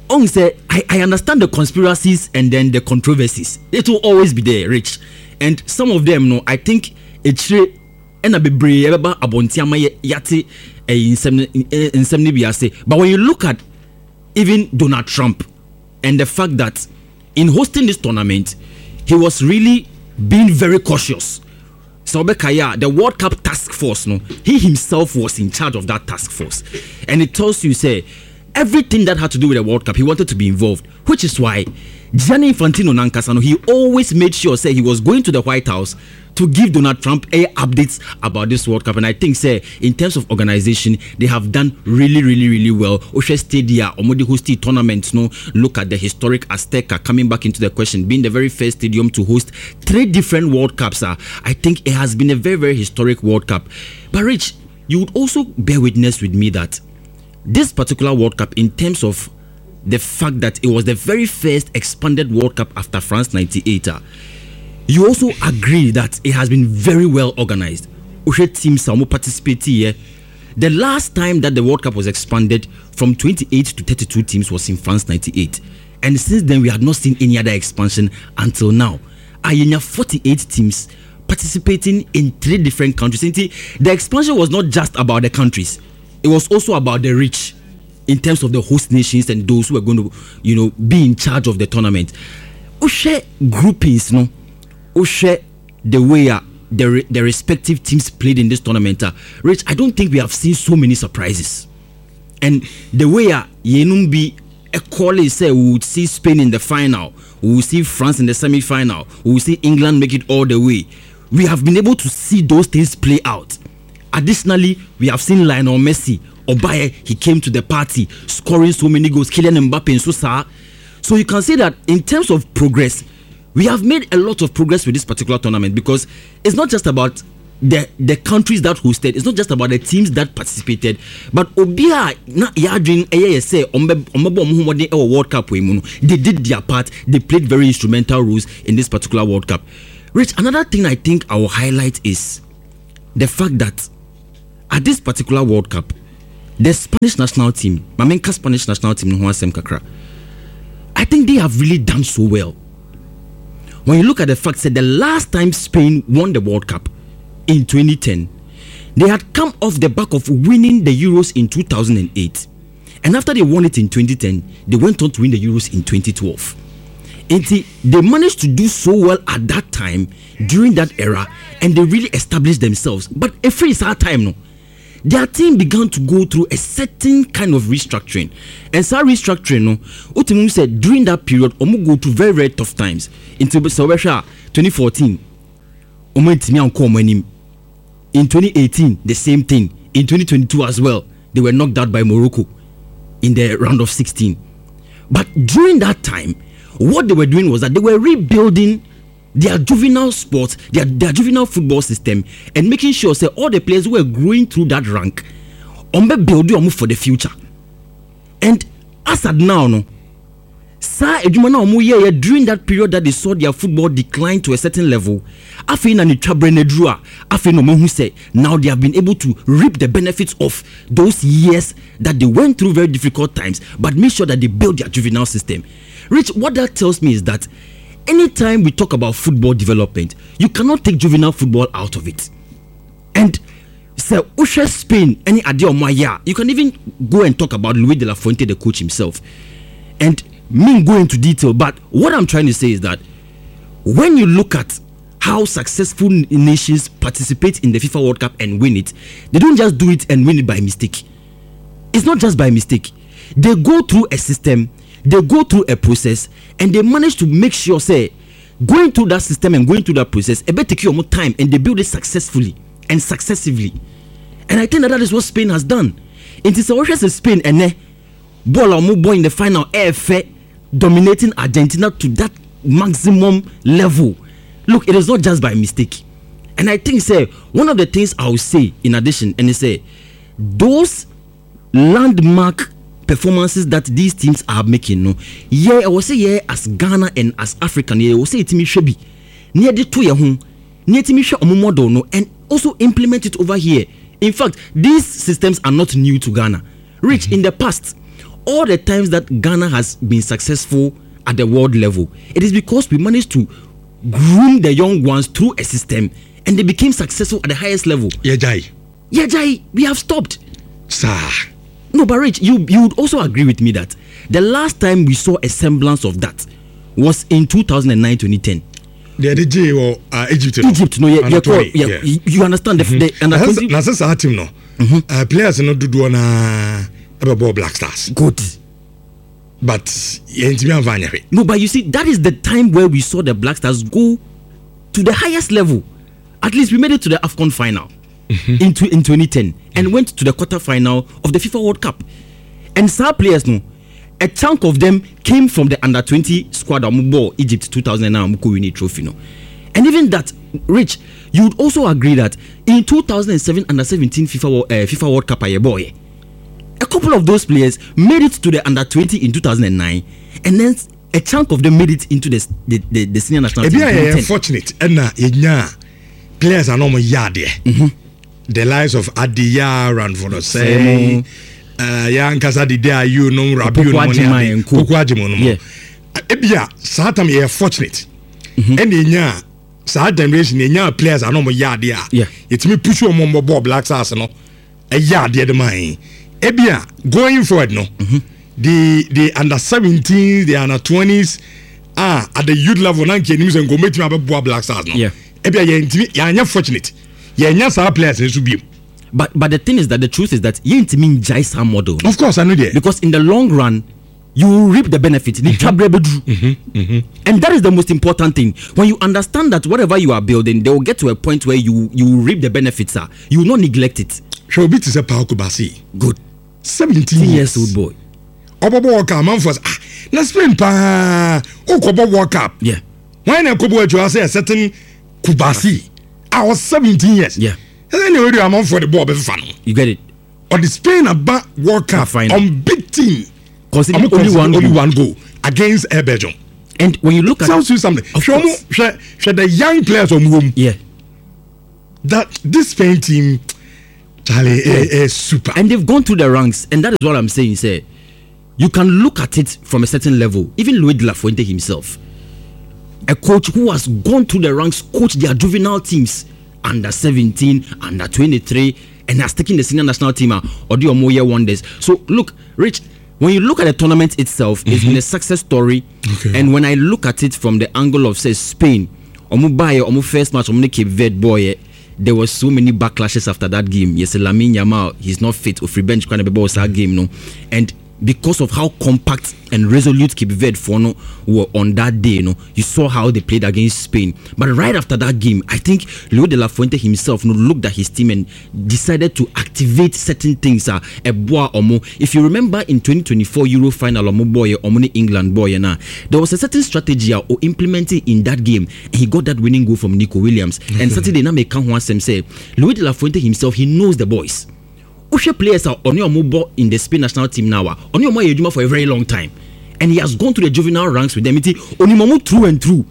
on sɛ I understand the conspiracies and then the controversies. It will always be there, Rich. And some of them no, I think ekyire ɛna bebree ɛbɛba abɔnten ama yɛ yate ɛyi nsɛm no nsɛm no bi ase. But when you look at even Donald Trump and the fact that in hosting this tournament, he was really being very cautious. Sɛ ɔbɛkaeɛ a, the World Cup task force no, he himself was in charge of that task force, and it tells you sɛ everything that had to do with the World Cup, he wanted to be involved, which is why Gianni Infantino nankasa no, he always made sure sɛ he was going to the White House to give Donald Trump a updates about this World Cup. And I think sɛ in terms of organization, they have done really really really well. Wohwɛ stadia ɔmo de host tournament no, look at the historic Azteca coming back into the question, being the very first stadium to host three different World Cups. I think it has been a very very historic World Cup. But Rich, you would also bear witness with me that this particular World Cup, in terms of the fact that it was the very first expanded World Cup after France 98, you also agree that it has been very well organized. Wohwɛ teams a wɔn participate here, the last time that the World Cup was expanded from 28 to 32 teams was in France 98, and since then we had not seen any other expansion until now. Ayenya 48 teams participating in three different countries. Nti the expansion was not just about the countries, it was also about the reach in terms of the host nations and those who are going to be in charge of the tournament. Wohwɛ groupings no, wohwɛ the way the respective teams played in this tournament, Rich, I don't think we have seen so many surprises. And the way yɛnum bi ɛkɔle sɛ we would see Spain in the final, we will see France in the semi-final, we will see England make it all the way. We have been able to see those things play out. Additionally, we have seen Lionel Messi. Obaye, he came to the party, scoring so many goals. Kylian Mbappe and so saa. So you can see that in terms of progress, we have made a lot of progress with this particular tournament, because it's not just about the countries that hosted. It's not just about the teams that participated, but obia na yadwin ɛyɛ yɛ sɛ ɔmbɛbɔ ɔmo ho mmɔden ɛwɔ World Cup wei mu no, they did their part. They played very instrumental roles in this particular World Cup. Rich, another thing I think I will highlight is the fact that at this particular World Cup, the Spanish national team, ma menka Spanish national team no ho asɛm kakra. I think they have really done so well. When you look at the fact that the last time Spain won the World Cup in 2010, they had come off the back of winning the Euros in 2008. And after they won it in 2010, they went on to win the Euros in 2012. Nti they managed to do so well at that time during that era, and they really established themselves. But every saa time no, their team began to go through a certain kind of restructuring, and saa restructuring no, wotumi sɛ during that period ɔmo go through very, very tough times. Nti sɛ wɔbɛhwɛ a, 2014 ɔmo ntumi ankɔ ɔmo anim. In 2018, the same thing. In 2022 as well, they were knocked out by Morocco in the round of 16. But during that time, what they were doing was that they were rebuilding their juvenile sports, their juvenile football system, and making sure sɛ all the players who were growing through that rank, ɔmo build ɔmo for the future. And as at now, no, saa adwuma na ɔmo yɛyɛ during that period that they saw their football decline to a certain level, afei na ne twabrɛ no aduru a, afei na ɔmo hu sɛ now they have been able to reap the benefits of those years that they went through very difficult times, but make sure that they build their juvenile system. Rich, what that tells me is that anytime we talk about football development, you cannot take juvenile football out of it. And sɛ wohwɛ Spain ɛne adeɛ ɔmo ayɛ a, you can even go and talk about Luis de la Fuente, the coach himself, and me go into detail. But what I'm trying to say is that when you look at how successful nations participate in the FIFA World Cup and win it, they don't just do it and win it by mistake. It's not just by mistake. They go through a system, they go through a process, and they manage to make sure sɛ going through that system and going through that process, it better take you more time, and they build it successfully and successively. And I think that that is what Spain has done. Nti sɛ wɔhwɛ sɛ Spain ɛnɛ ball a wɔn bɔ in the final ɛɛfɛ, dominating Argentina to that maximum level, look, it is not just by mistake. And I think sɛ one of the things I will say in addition, and sɛ those landmark performances that these teams are making no, yɛ ɛwɔ sɛ yɛ as Ghana and as African, yɛ ɛwɔ sɛ yɛtumi hwɛ bi na yɛde to yɛn ho na yɛtumi hwɛ ɔmo model no and also implement it over here. In fact, these systems are not new to Ghana, Rich. In the past, all the times that Ghana has been successful at the world level, it is because we managed to groom the young ones through a system and they became successful at the highest level. Yɛgyae. Yɛgyae, we have stopped. Saa. No, but Rich, you would also agree with me that the last time we saw a semblance of that was in 2009 2010. Deɛ de gye wɔ Egypt no. Egypt no, yeah, 20, yeah, you understand the under 20. Na sɛ saa team no, players no dodoɔ naa ɛbɛbɔ Black Stars. Good. But yɛntumi amfa anyɛ hwee. No, but you see, that is the time where we saw the Black Stars go to the highest level. At least we made it to the AFCON final in 2010 and went to the quarter final of the FIFA World Cup. And some players, no, a chunk of them came from the under 20 squad a ball Egypt 2009 ɔmo winning trophy no. And even that, Rich, you would also agree that in 2007 under 17 FIFA World Cup a boy, a couple of those players made it to the under 20 in 2009, and then a chunk of them made it into the senior national team. Ebi a yɛ fortunate ɛna yɛnya players a na ɔmo yɛ adeɛ. The likes of Adiya, Ranford Osei, yɛ ankasa Dede Ayew nom, Rabiu nom ne ade, Koko Agyemo nom. Ebi a saa time yɛ fortunate ɛna yɛnya saa generation, yɛnya players a na ɔmo yɛ adeɛ a yɛtumi push ɔmo mbɔ bɔɔl Black Stars no ɛyɛ adeɛ de ma yɛn. Ebi a going forward no, the under 17, the under 20s, ah, at the youth level na nkyɛn nim sɛ nkɔmɔ etumi abɛboa Black Stars no. Ebi a yɛntumi yɛanyɛ fortunate, yɛnya saa players nso biem. But the thing is that the truth is that yɛntumi ngyae saa model. Of course, I know there. Because in the long run, you will reap the benefit. And that is the most important thing. When you understand that whatever you are building, they will get to a point where you will reap the benefits. Sir. You will not neglect it. Hwɛ obi te sɛ Pau Cubarsi. Good. 17 years old boy. Ɔbɔbɔ World Cup amanfoɔ sɛ, ah, na Spain paa okɔbɔ World Cup. Wɔn na ɛkɔbɔ atwa sɛ a certain Cubarsi a. A ɔwɔ 17 years. Yeah. Ɛsɛ ne wɛdi amanfoɔ de bɔɔl bɛfefa no. You get it. Ɔde Spain aba World Cup Final. unbeaten. Conceded Ɔmo only conceded one only goal. one goal against Air Belgium. And when you look at Tells you something. Of Hwɛ ɔmo course. hwɛ hwɛ the young players ɔmo wɔ mu. Yeah. That this Spain team, Charlie, is super. And they've gone through the ranks, and that is what I'm saying. Say, you can look at it from a certain level. Even Luis de la Fuente himself, a coach who has gone through the ranks, coached their juvenile teams under 17, under 23, and has taken the senior national team or the Omoye wonders. So look, Rich, when you look at the tournament itself, it's been a success story. Okay. And when I look at it from the angle of say Spain, Omo Baye, Omo first match, Omo ne Cape Verde boy, there was so many backlashes after that game. Yes, Lamine Yamal, he's not fit. Ofri bench kind of that game, no. And because of how compact and resolute Cape Verde for no were on that day, no, you saw how they played against Spain. But right after that game, I think Leo de la Fuente himself no, looked at his team and decided to activate certain things. Eboa Omo. If you remember in 2024 Euro final, Omo boy, Omo ne England boy, na, there was a certain strategy or implemented in that game, and he got that winning goal from Nico Williams. And Saturday na make one say Luis de la Fuente himself, he knows the boys. Wohwɛ players a ɔne ɔmo bɔ in the Spain national team now a ɔne ɔmo ayɛ adwuma for a very long time, and he has gone through the juvenile ranks with them. Nti onim ɔmo through and through.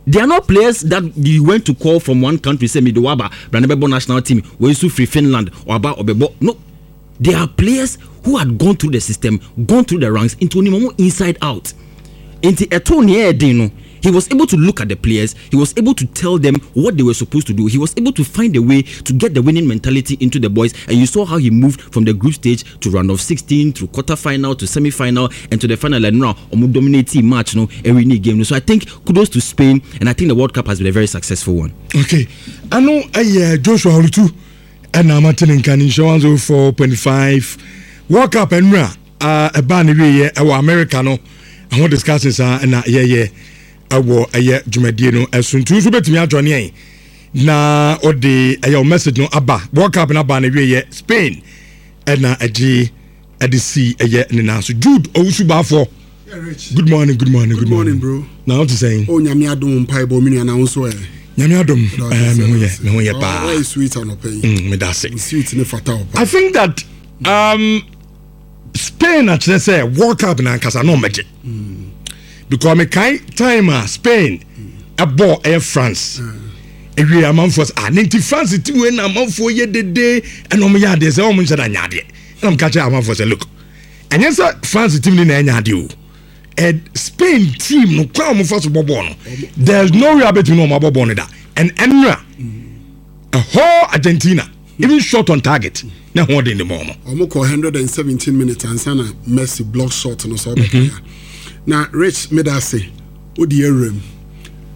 They are not players that you went to call from one country say mede waba brane bɛbɔ national team wei nso firi Finland ɔaba ɔbɛbɔ. No, they are players who had gone through the system, gone through the ranks, nti onim ɔmo inside out. Nti ɛto nea ɛyɛ den no, he was able to look at the players, he was able to tell them what they were supposed to do, he was able to find a way to get the winning mentality into the boys, and you saw how he moved from the group stage to round of 16, through quarter final to semi-final and to the final, and now ɔmo dominate match no every new game no. So I think kudos to Spain, and I think the World Cup has been a very successful one. Okay, ano ɛyɛ Joshua Olutu ɛna amate ne nka ne nhyɛ 104.5 World Cup ɛnura ɛbaa ne wieɛ ɛwɔ America no ɛho discussions a ɛna yɛyɛ ɛwɔ ɛyɛ dwumadie no ɛso. Nti nso bɛtumi adwane yɛn na ɔde ɛyɛ o message no aba. World Cup no aba ne wieɛ, Spain ɛna ɛgye ɛde si ɛyɛ ne nan so. Jude Owusu Baafoɔ. Yeah, Rich. Good morning, good morning. Good morning, bro. Na wote sɛn? Oh, Nyame adom mpaebɔ me nua na wo nso ɛ. Nyame adom, me ho yɛ, me ho yɛ paa. Why sweet anɔpa yi? Meda ase. Sweet ne fata wo paa. I think that Spain akyerɛ sɛ World Cup na ankasa na ɔmɛgye. Because mekae time a Spain ɛbɔ ɛyɛ France. Ewie amanfoɔ sɛ ah ne nti France ti wei na amanfoɔ yɛ dede ɛna ɔmo yɛ adeɛ sɛ ɔmo nhyɛ da nyɛ adeɛ. Ɛna ɔmo ka kyerɛ amanfoɔ sɛ look, ɛnyɛ sɛ France team ni na ɛnyɛ adeɛ o. Ɛ Spain team no kwan a ɔmo fa so bɔ bɔɔl no, there is no way abɛtumi na ɔmo abɔ bɔɔl no da. And ɛnura a whole Argentina even shot on target na ho ɔden de mɔ ɔmo. Ɔmo kɔ 117 minutes ansa na Messi block shot no sɛ ɔbɛka ya. Na Rich meda ase wodi awuram.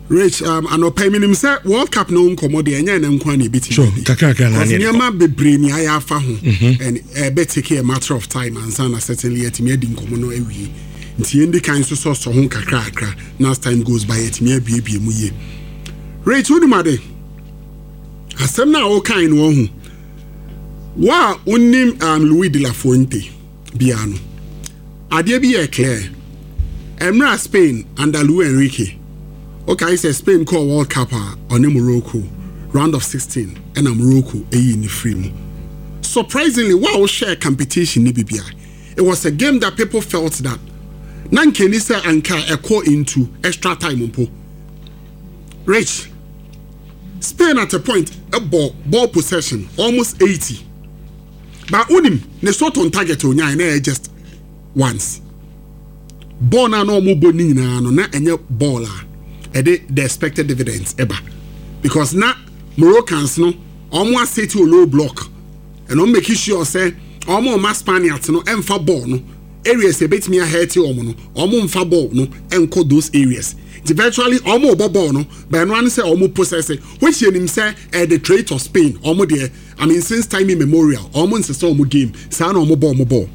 Rich, anɔpa yi menim sɛ World Cup no nkɔmmɔ deɛ ɛnyɛ ɛnɛ nko a na ɛbɛtumi adi. Kakrakra na Because ne yɛde kɔ. nneɛma bebree ni ayɛ afa ho and ɛbɛ take a matter of time ansa na certainly yɛtumi adi nkɔmmɔ no awie. Nti yɛndi kan nso sɔsɔ ho kakrakra na as time goes by yɛtumi abiebie mu yie. Rich, wonim ade? Asɛm no a wokae no wahu. Wo a wonim Luis de la Fuente bia no, adeɛ bi yɛ clear. Mmerɛ a Spain under Luis Enrique, wokae sɛ Spain kɔɔ World Cup a ɔne Morocco round of 16 ɛna Morocco ɛyii ne firi mu. Surprisingly, wo a wohwɛɛ competition ne bibia, it was a game that people felt that na nkeni sɛ anka ɛkɔ into extra time mpo. Rich, Spain at a point ɛbɔ ball possession almost 80. But unim ne shot on target onyae na ɛyɛ just once. Ball na na ɔmo bɔ ne nyinaa no na ɛnyɛ ball a ɛde the expected dividends ɛba, because na Moroccans no ɔmo aseti o low block and ɔmo make sure sɛ ɔmo ɔma Spaniards no ɛmfa ball no areas ebetumi ahɛɛte ɔmo no, ɔmo mfa ball no ɛnkɔ those areas. Nti virtually ɔmo bɔ ball no, but ɛno ano sɛ ɔmo possess it, which yɛnim sɛ ɛyɛ the trait of Spain. Ɔmo deɛ, I mean, since time immemorial ɔmo nsesa ɔmo game saa na ɔmo bɔ ɔmo ball.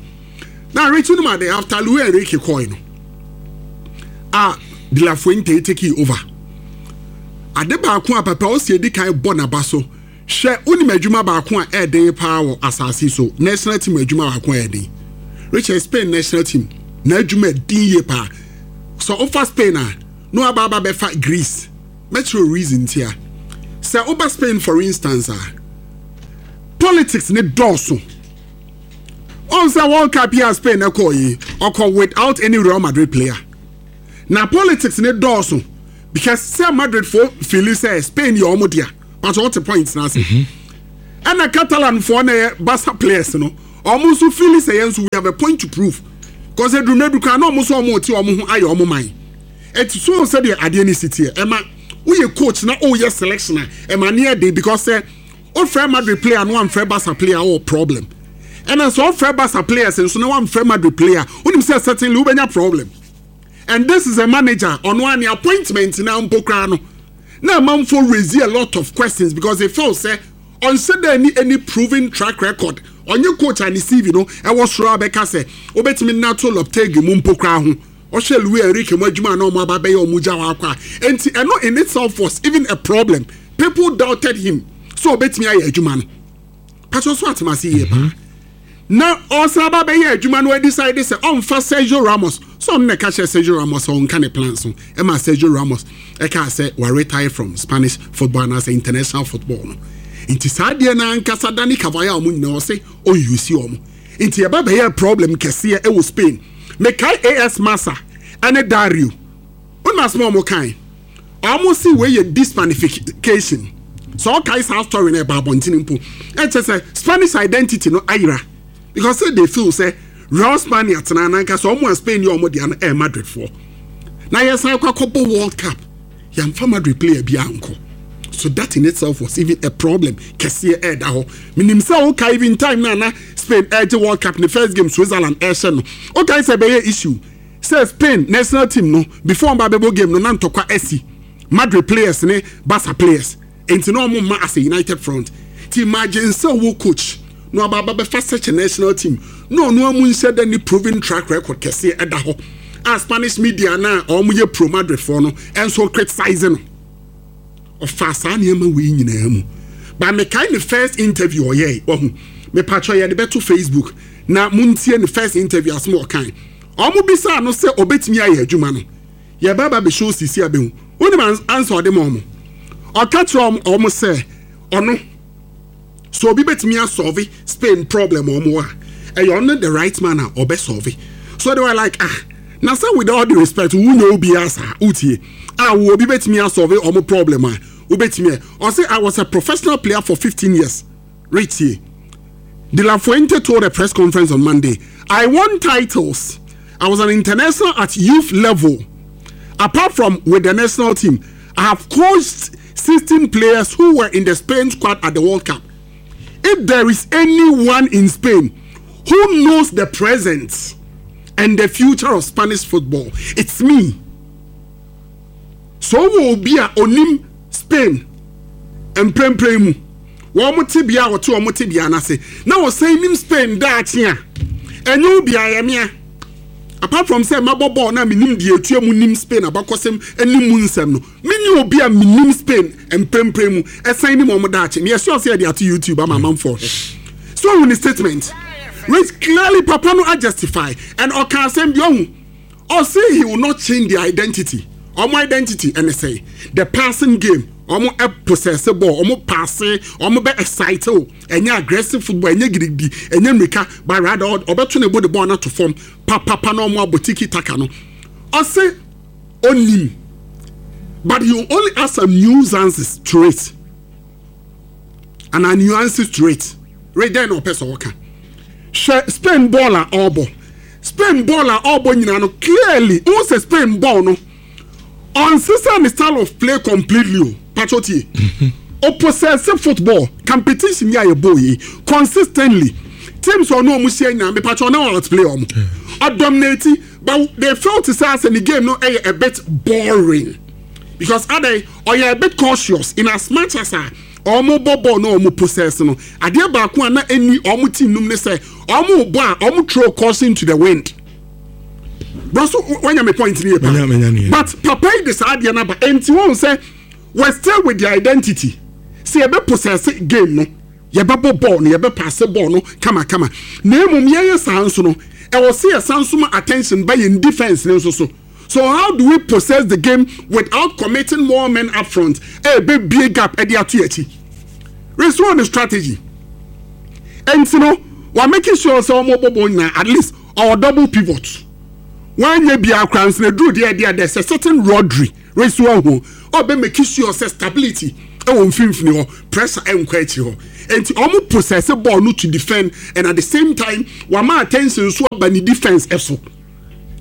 Na Rich no ma de after Luis Enrique kɔɛ no a De La Fuente take over, ade baako a papa ɔsi edi kan bɔ n'aba so hwɛ, wonim adwuma baako a ɛɛden paa wɔ asase so, national team adwuma baako a ɛɛden, Richard, Spain national team na adwuma ɛdin yie paa. So ɔfa Spain a na waba aba bɛfa Greece, mɛkyerɛ reason tia. Sɛ woba Spain for instance a, politics ne dɔɔso. Ɔn sɛ World Cup yi a Spain ɛkɔɔ yi, ɔkɔ without any Real Madrid player. Na politics ne dɔɔso because sɛ Madrid fo feeli sɛ Spain yɛ ɔmo dea. Pakyɛ wote point no ase? Ɛna Catalan foɔ na ɛyɛ Barca players no, ɔmo nso feeli sɛ yɛn nso we have a point to prove. Cause eduru mmerɛ bi koraa na ɔmo nso ɔmo te ɔmo ho ayɛ ɔmo man. Ɛti so sɛdeɛ adeɛ no si teɛ, ɛma woyɛ coach na woyɛ selection a, ɛma ne yɛ den because sɛ wofrɛ Madrid player na wamfrɛ Barca player wowɔ problem. Ɛna sɛ wofrɛ Barca players nso na wamfrɛ Madrid player, wonim sɛ certainly wobɛnya problem. And this is a manager, ɔno a ne appointment na mpo koraa no, na amanfoɔ raise a lot of questions because they felt sɛ ɔnhyɛ da ni any proven track record. Ɔnyɛ coach a ne CV no ɛwɔ soro a bɛka sɛ wobɛtumi nato Lopetegui mu mpo koraa ho. Ɔhwɛ Luis Enrique mu adwuma a na ɔmo aba bɛyɛ ɔmo gya hɔ akɔ a, enti ɛno in itself was even a problem. People doubted him sɛ ɔbɛtumi ayɛ adwuma no. Patro so atem ase yie paa. Na ɔsan aba bɛyɛ adwuma no decide sɛ ɔmfa Sergio Ramos sɛ ɔno na ɛka kyerɛ Sergio Ramos sɛ ɔnka ne plans ho ɛma Sergio Ramos ɛkaa sɛ wa retire from Spanish football anaasɛ international football no. Nti saa adeɛ no ankasa Dani Carvajal mu nyinaa ɔse ɔnyusi ɔmo. Nti ɛba bɛyɛ problem kɛseɛ ɛwɔ Spain. Mekae AS Massa ɛne Dario. Wona asɛm a ɔmo kae? Ɔmo se wei yɛ de-Spanification. Sɛ ɔkae saa story no ɛba abɔntene mpo. Ɛkyɛ sɛ Spanish identity no ayera. Because say they feel sɛ real Spaniard tena nankasa ɔmo a Spain yɛ ɔmo dea no ɛyɛ Madrid foɔ. Na yɛsan kɔ akɔbɔ World Cup. Yɛmfa Madrid player bi ankɔ. So that in itself was even a problem kɛseɛ ɛɛda hɔ. Menim sɛ wokae even time na na Spain ɛregye World Cup ne first game Switzerland ɛrehyɛ no. Wokae sɛ ɛbɛyɛ issue sɛ Spain national team no before ɔmo ba bɛbɔ game no na ntɔkwa asi Madrid players ne Barca players. Enti na ɔmo mma as a united front. Ti imagine sɛ wo coach na ɔba aba bɛfa such a national team na ɔno amu nhyɛ da ni proven track record kɛseɛ ɛda hɔ a Spanish media na ɔmo yɛ pro Madrid foɔ no ɛnso criticize no. Ɔfa saa nneɛma wei nyinaa mu. But mekae ne first interview ɔyɛe, wahu. Mepatwɔ yɛde bɛto Facebook na montie ne first interview asɛm a ɔkae. Ɔmo bisaa no sɛ ɔbɛtumi ayɛ adwuma no. Yɛba ba bɛhyɛ osisi abɛhu. Wonim ansa ɔde ma ɔmo? Ɔka kyerɛ ɔmo sɛ ɔno sɛ obi bɛtumi asolve Spain problem ɔmo a, ɛyɛ ɔno the right man a ɔbɛ solve. So they were like, ah, na sɛ with all the respect, wo nyɛ obiara saa, wotie. Ah, wo obi bɛtumi asolve ɔmo problem a, wobɛtumi ɛ. Ɔse, I was a professional player for 15 years. Retie. De La Fuente told a press conference on Monday, I won titles. I was an international at youth level. Apart from with the national team, I have coached 16 players who were in the Spain squad at the World Cup. If there is anyone in Spain who knows the present and the future of Spanish football, it's me. So will be a onim Spain mprempren mu wɔn tebea a wɔte wɔn tebea n'ase na wɔsan nim Spain daakye a ɛnyɛ obi ayɛmea apart from sɛ mabɔ bɔɔl na menim deɛ etua mu nim Spain abakɔsɛm ne mu nsɛm no mene obi a menim Spain mprempren mu ɛsan nim wɔn daakye meyɛ sure sɛ yɛde ato YouTube ama amanfoɔ hwɛ so ohun ne statement which clearly papa no justify and ɔka asɛm bi ɔhu ɔse he will not change their identity. Ɔmo identity ɛne sɛ the passing game, ɔmo possess ball, ɔmo pass, ɔmo bɛ excite o, ɛnyɛ aggressive football, ɛnyɛ gidigidi, ɛnyɛ mmirika, but rather ɔbɛto ne bo de ball no ato fam papapa na ɔmo abɔ tiki taka no. Ɔse onim, but he will only add some nuances to it. And nuances to it. Right then ɔpɛ sɛ ɔka. Hwɛ Spain ball a ɔrebɔ. Spain ball a ɔrebɔ nyinaa no clearly n sɛ Spain ball no ɔnsesa ne style of play completely o. Patro tie. Ɔpossess football competition yi a yɛbɔ yi consistently. Teams ɔno ɔmo hyia nyinaa me patro na outplay ɔmo. Ɔdominate but they felt sɛ asɛ ne game no ɛyɛ a bit boring because adan ɔyɛ a bit cautious in as much as a ɔmo bɔ ball na ɔmo possess no adeɛ baako a na ɛni ɔmo team num ne sɛ ɔmo bɔ a ɔmo throw caution to the wind. Bro, so wanya me point ni yɛ pa. But papa yi de saa adeɛ no aba enti wɔn sɛ we still with their identity sɛ yɛbɛ possess game no yɛbɛbɔ ball no yɛbɛ pass ball no kamakama na emom yɛyɛ saa nso no ɛwɔ sɛ yɛsan so ma attention ba yɛn defence ne nso so. So how do we possess the game without committing more men up front? Ɛbɛbie gap ɛde ato yɛn akyi. Restore the strategy. Ɛnti no, wa making sure sɛ wɔn bɔ bɔɔl nyinaa at least ɔwɔ double pivot. Wanyɛ biara koraa nso na eduru deɛ ɛdeɛ there's a certain Rodri restore ho. Ɔbɛ make sure sɛ stability ɛwɔ mfimfini hɔ, pressure ɛnkɔ akyiri hɔ. Nti wɔn possess ball no to defend and at the same time wama attention nso aba ne defense ɛso.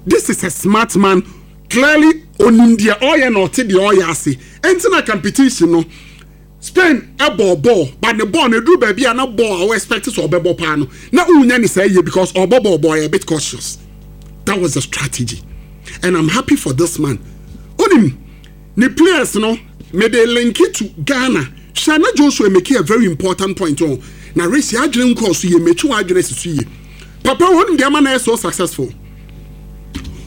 This is a smart man. Clearly onim deɛ ɔyɛ na ɔte deɛ ɔyɛ ase. Ɛnti na competition no Spain bɔɔ bɔɔl but ne bɔɔl no eduru baabi a na bɔɔl a wo expect sɛ ɔbɛbɔ paa no na wonya ne saa yie because ɔbɔ bɔɔl bɔɔl yɛ a bit cautious. That was the strategy and I'm happy for this man. Onim ne players no mede link to Ghana hwɛ na Joshua make a very important point o na race adwene nkɔɔ so yie metwe w'adwene asi so yie. Papa onim deɛ ama no ayɛ so successful.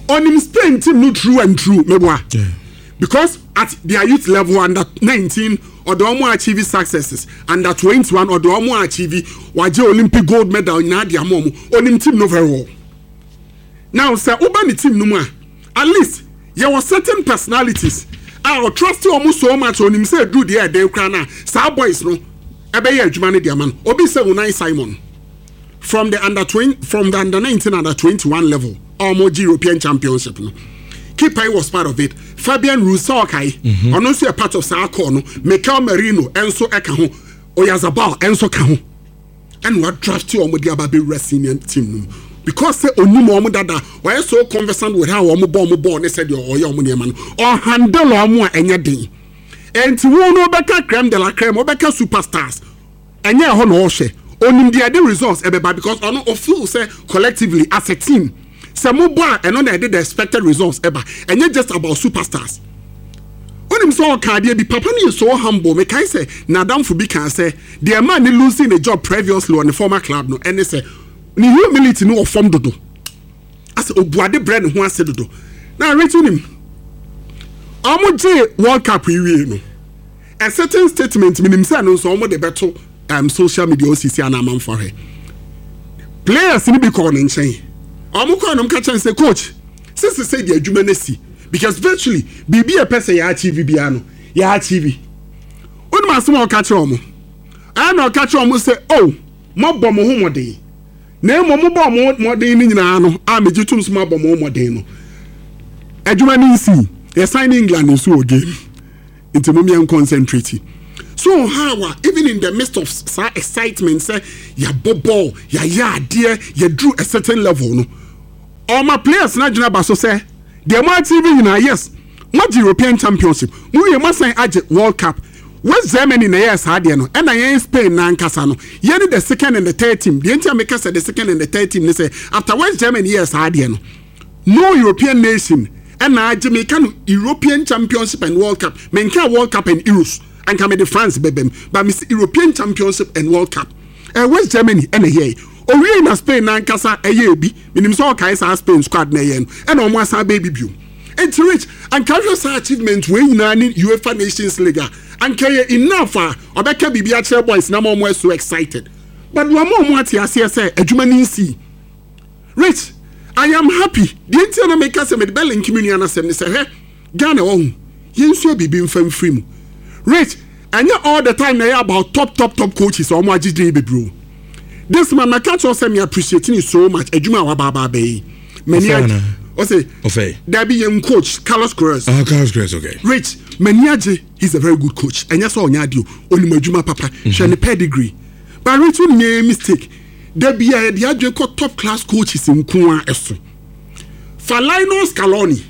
Onim Spain team no true and true meboa. Yeah. Because at their youth level under 19 ɔde wɔn achieve successes, under 21 ɔde wɔn achieve, wagye Olympic gold medal nyinaa de ama wɔn. Onim team no very well. Now sɛ woba ne team no mu a, at least yɛwɔ certain personalities a ɔtrust wɔn so much onim sɛ eduru deɛ ɛden koraa na saa boys no ɛbɛyɛ adwuma no de ama no. Obi sɛ Unai Simon. From the under 20, from the under 19 under 21 level ɔmo gye European Championship no keeper yi was part of it. Fabian Ruiz sɛ ɔkae mhm. ɔno nso yɛ part of saa call no. Mikel Merino nso ɛka ho, Oyarzabal nso ka ho, ɛna wa draft ɔmo de aba abɛwura senior team no mu because sɛ onim ɔmo dada, ɔyɛ so conversant with how ɔmo bɔ ɔmo bɔɔl ne sɛdeɛ ɔyɛ ɔmo nneɛma no, ɔhandle ɔmo a ɛnyɛ den. Ɛnti wo no wobɛka creme de la creme, wobɛka superstars, Ɛnyɛ ɛhɔ na ɔhwɛ. Onim deɛ ɛde results ɛbɛba because ɔno o feel sɛ collectively as a team sɛ mo bɔ a ɛno na ɛde the expected results ɛba. Ɛnyɛ just about superstars. Wonim sɛ ɔka adeɛ bi, papa no yɛ so humble. Mekae sɛ n'adamfo bi kaa sɛ deɛ ɛmaa ne losing ne job previously wɔ ne former club no ɛne sɛ ne humility no wɔ fam dodo. Asɛ obu ade brɛ ne ho ase dodo. Na Rich wonim, wɔn gyee World Cup yi wie no, A certain statement menim sɛ ɛno nso wɔn de bɛto um, social media osisi ana amanfo ahwɛ. Players no bi kɔɔ ne nkyɛn. Wɔn kɔɔ nom ka kyɛn sɛ coach sisi sɛ deɛ adwuma no si because virtually biribi a ɛpɛ sɛ yɛ achieve biara no yɛ achieve. Wonim asɛm a ɔka kyerɛ wɔn? Ɛna ɔka kyerɛ wɔn sɛ oh moabɔ mo ho mmɔden. Na mmom mobɔɔ mo mmɔden no nyinaa no a megye tom sɛ moabɔ mo mmɔden no adwuma no nsii. Yɛsan ne England nso wɔ game. Nti mom yɛn concentrate. So how a even in the midst of saa excitement sɛ yɛabɔ ball, yɛayɛ adeɛ, yɛduru a certain level no, ɔma players no adwene aba so sɛ deɛ mo achieve nyinaa, yes, moagye European Championship, mowie moasan agye World Cup. West Germany na ɛyɛɛ saa adeɛ no, ɛna yɛn Spain no ankasa no, yɛne the second and the third team. Deɛ nti a meka sɛ the second and the third team ne sɛ after West Germany yɛɛ saa adeɛ no, No European nation na agye meka no European Championship and World Cup menkaa World Cup and Euros anka mede France bɛbam but mese European Championship and World Cup eh, West Germany ɛna ɛyɛe owiei na Spain nankasa ɛyɛɛ bi menim sɛ ɔkae saa Spain squad na ɛyɛɛ no ɛna ɔmo asan bɛɛ bi biom enti Rich anka hwɛ saa achievement wei nyinaa ne UEFA Nations League a anka ɛyɛ enough a ɔbɛka biribi akyerɛ boys na ma ɔmo so excited but wɔn a ɔmo ate aseɛ sɛ adwuma no nsii Rich, I am happy. Deɛ nti a na meka sɛ mede bɛ link me nua no asɛm ne sɛ hwɛ Ghana wahu yɛnsua biribi mfa mfiri mu. Rich, ɛnyɛ all the time na ɛyɛ about top top top coaches a wɔn agye din bebree o. This man maka kyerɛ sɛ me appreciate ne so much adwuma a waba aba abɛyɛ yi. M'ani agye. Ɔsɛ Ɔfɛ. Dabi yɛn coach Carlos Queiroz. Ah, Carlos Queiroz, okay. Rich, m'ani agye. He's a very good coach. Ɛnyɛ sɛ ɔnyɛ adeɛ o. Onim adwuma papa. Hwɛ ne pedigree. But Rich, wonim yɛn mistake. Da biara yɛde adwene kɔ top class coaches nko ara so. Fa Lionel Scaloni.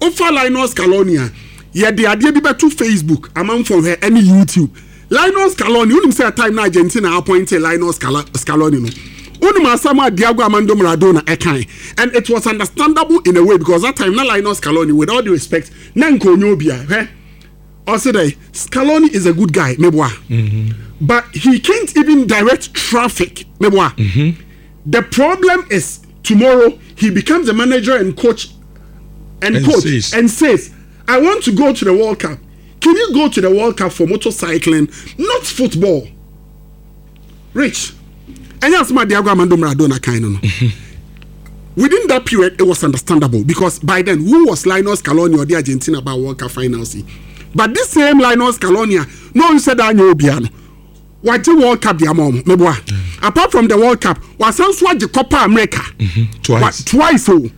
Wofa Lionel Scaloni a, yɛde adeɛ bi bɛto Facebook amanfoɔ hwɛ ɛne YouTube. Lionel Scaloni, wonim sɛ time na Argentina appointed Lionel Scaloni no, wonim asɛm a Diego Armando Maradona ɛkae. And it was understandable in a way because that time na Lionel Scaloni, with all due respect, na nka ɔnyɛ obiara. Hwɛ. Ɔse dɛ Scaloni is a good guy meboa mm-hmm. but he can't even direct traffic meboa. Mm-hmm. The problem is tomorrow he becomes a manager and coach and, and coach says. and says I want to go to the World Cup. Can you go to the World Cup for motorcycling, not football? Rich, ɛnyɛ asɛm a Diego Armando Maradona kan no no. Within that period, it was understandable because by then, who was Lionel Scaloni or the Argentina about World Cup finals? But this same Lionel Scaloni, no one said that no piano. Wagye World Cup de ama wɔn meboa. Apart from the World Cup, wasan so agye Copa America. Twice. Twice o.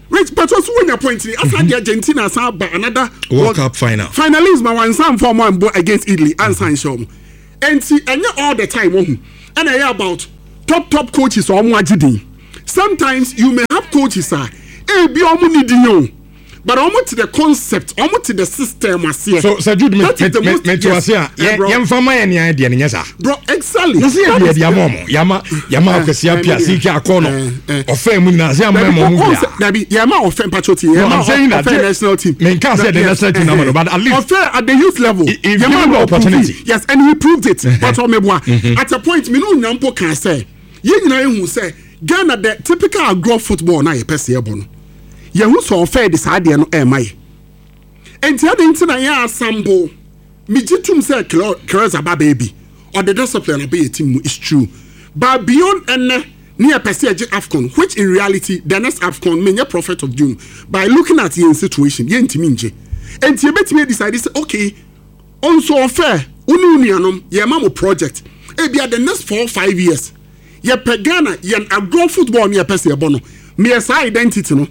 Wait, but also when your point ni asa de Argentina asan aba another World Cup final. Finalist ma wansan fɔ ɔmo anbɔ against Italy ansan nhyɛ ɔmo. Nti ɛnyɛ all the time wɔn ho ɛna ɛyɛ about top top coaches a ɔmo agye din. Sometimes you may have coaches a ebi ɔmo ni din o. But ɔmo te the concept, ɔmo te the system aseɛ. So sɛ Jude me That is the me most me te yes. ase a Eh, yɛ bro. yɛmfa ma yɛ nea deɛ no nyɛ saa. Bro, exactly. Na sɛ yɛ That deɛ is de ama ɔmo yɛama yɛama Eh, akwasi eh, apia me deɛ. sike akɔ no Eh, eh. ɔfɛn mu nyinaa sɛ yɛama Dabi, ɛma ɔmo oh, bia. sɛ- dabi, yɛma ɔfɛ mpatro ti, No, yɛma I'm saying that ɔfɛ national team. Menka sɛ the Yes, national team eh, nama no, but at least ɔfɛ at the youth level. He- he Yɛma given no the opportunity. ɔprove. Yes, and he proved it. But ɔmɛboa. At a point, me no nyampo kan sɛ, yɛn nyinaa ehu sɛ Ghana the typical agorɔ football na yɛpɛ sɛ yɛbɔ no. Yɛhu sɛ ɔfɛ de saa adeɛ no ɛɛma yɛ. Nti adi nti na yɛ asambo. Megye tum sɛ Queiroz aba baabi. Ɔde discipline abɛyɛ team mu is true. But beyond ɛnɛ ne yɛpɛ sɛ yɛgye AFCON, which in reality the next AFCON menyɛ prophet of doom. By looking at yɛn situation, yɛntumi ngye. Nti yɛbɛtumi decide sɛ okay, ɔnso ɔfɛ wo ne wo nuanom yɛma mo project. Ebia the next 4-5 years yɛpɛ Ghana yɛn agorɔ football ne yɛpɛ sɛ yɛbɔ no. Meyɛ saa identity no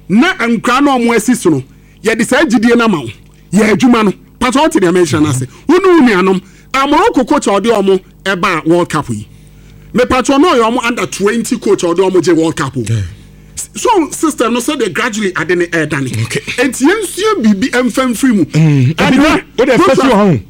na nkura na ɔmo asi so no yɛde saa gyidie no ama wo yɛ adwuma no patɔ ɔte deɛ mɛnhyɛ no ase wo ne wo nuanom a Morocco coach a ɔde ɔmo ɛba World Cup yi mepatɔ no ɔyɛ ɔmo under 20 coach a ɔde ɔmo gye World Cup o. So system no sɛdeɛ gradually ade ne ɛɛdane nti yɛnsua biribi ɛmfa mfiri mu. Ebi o de fɛ si wɔ ho.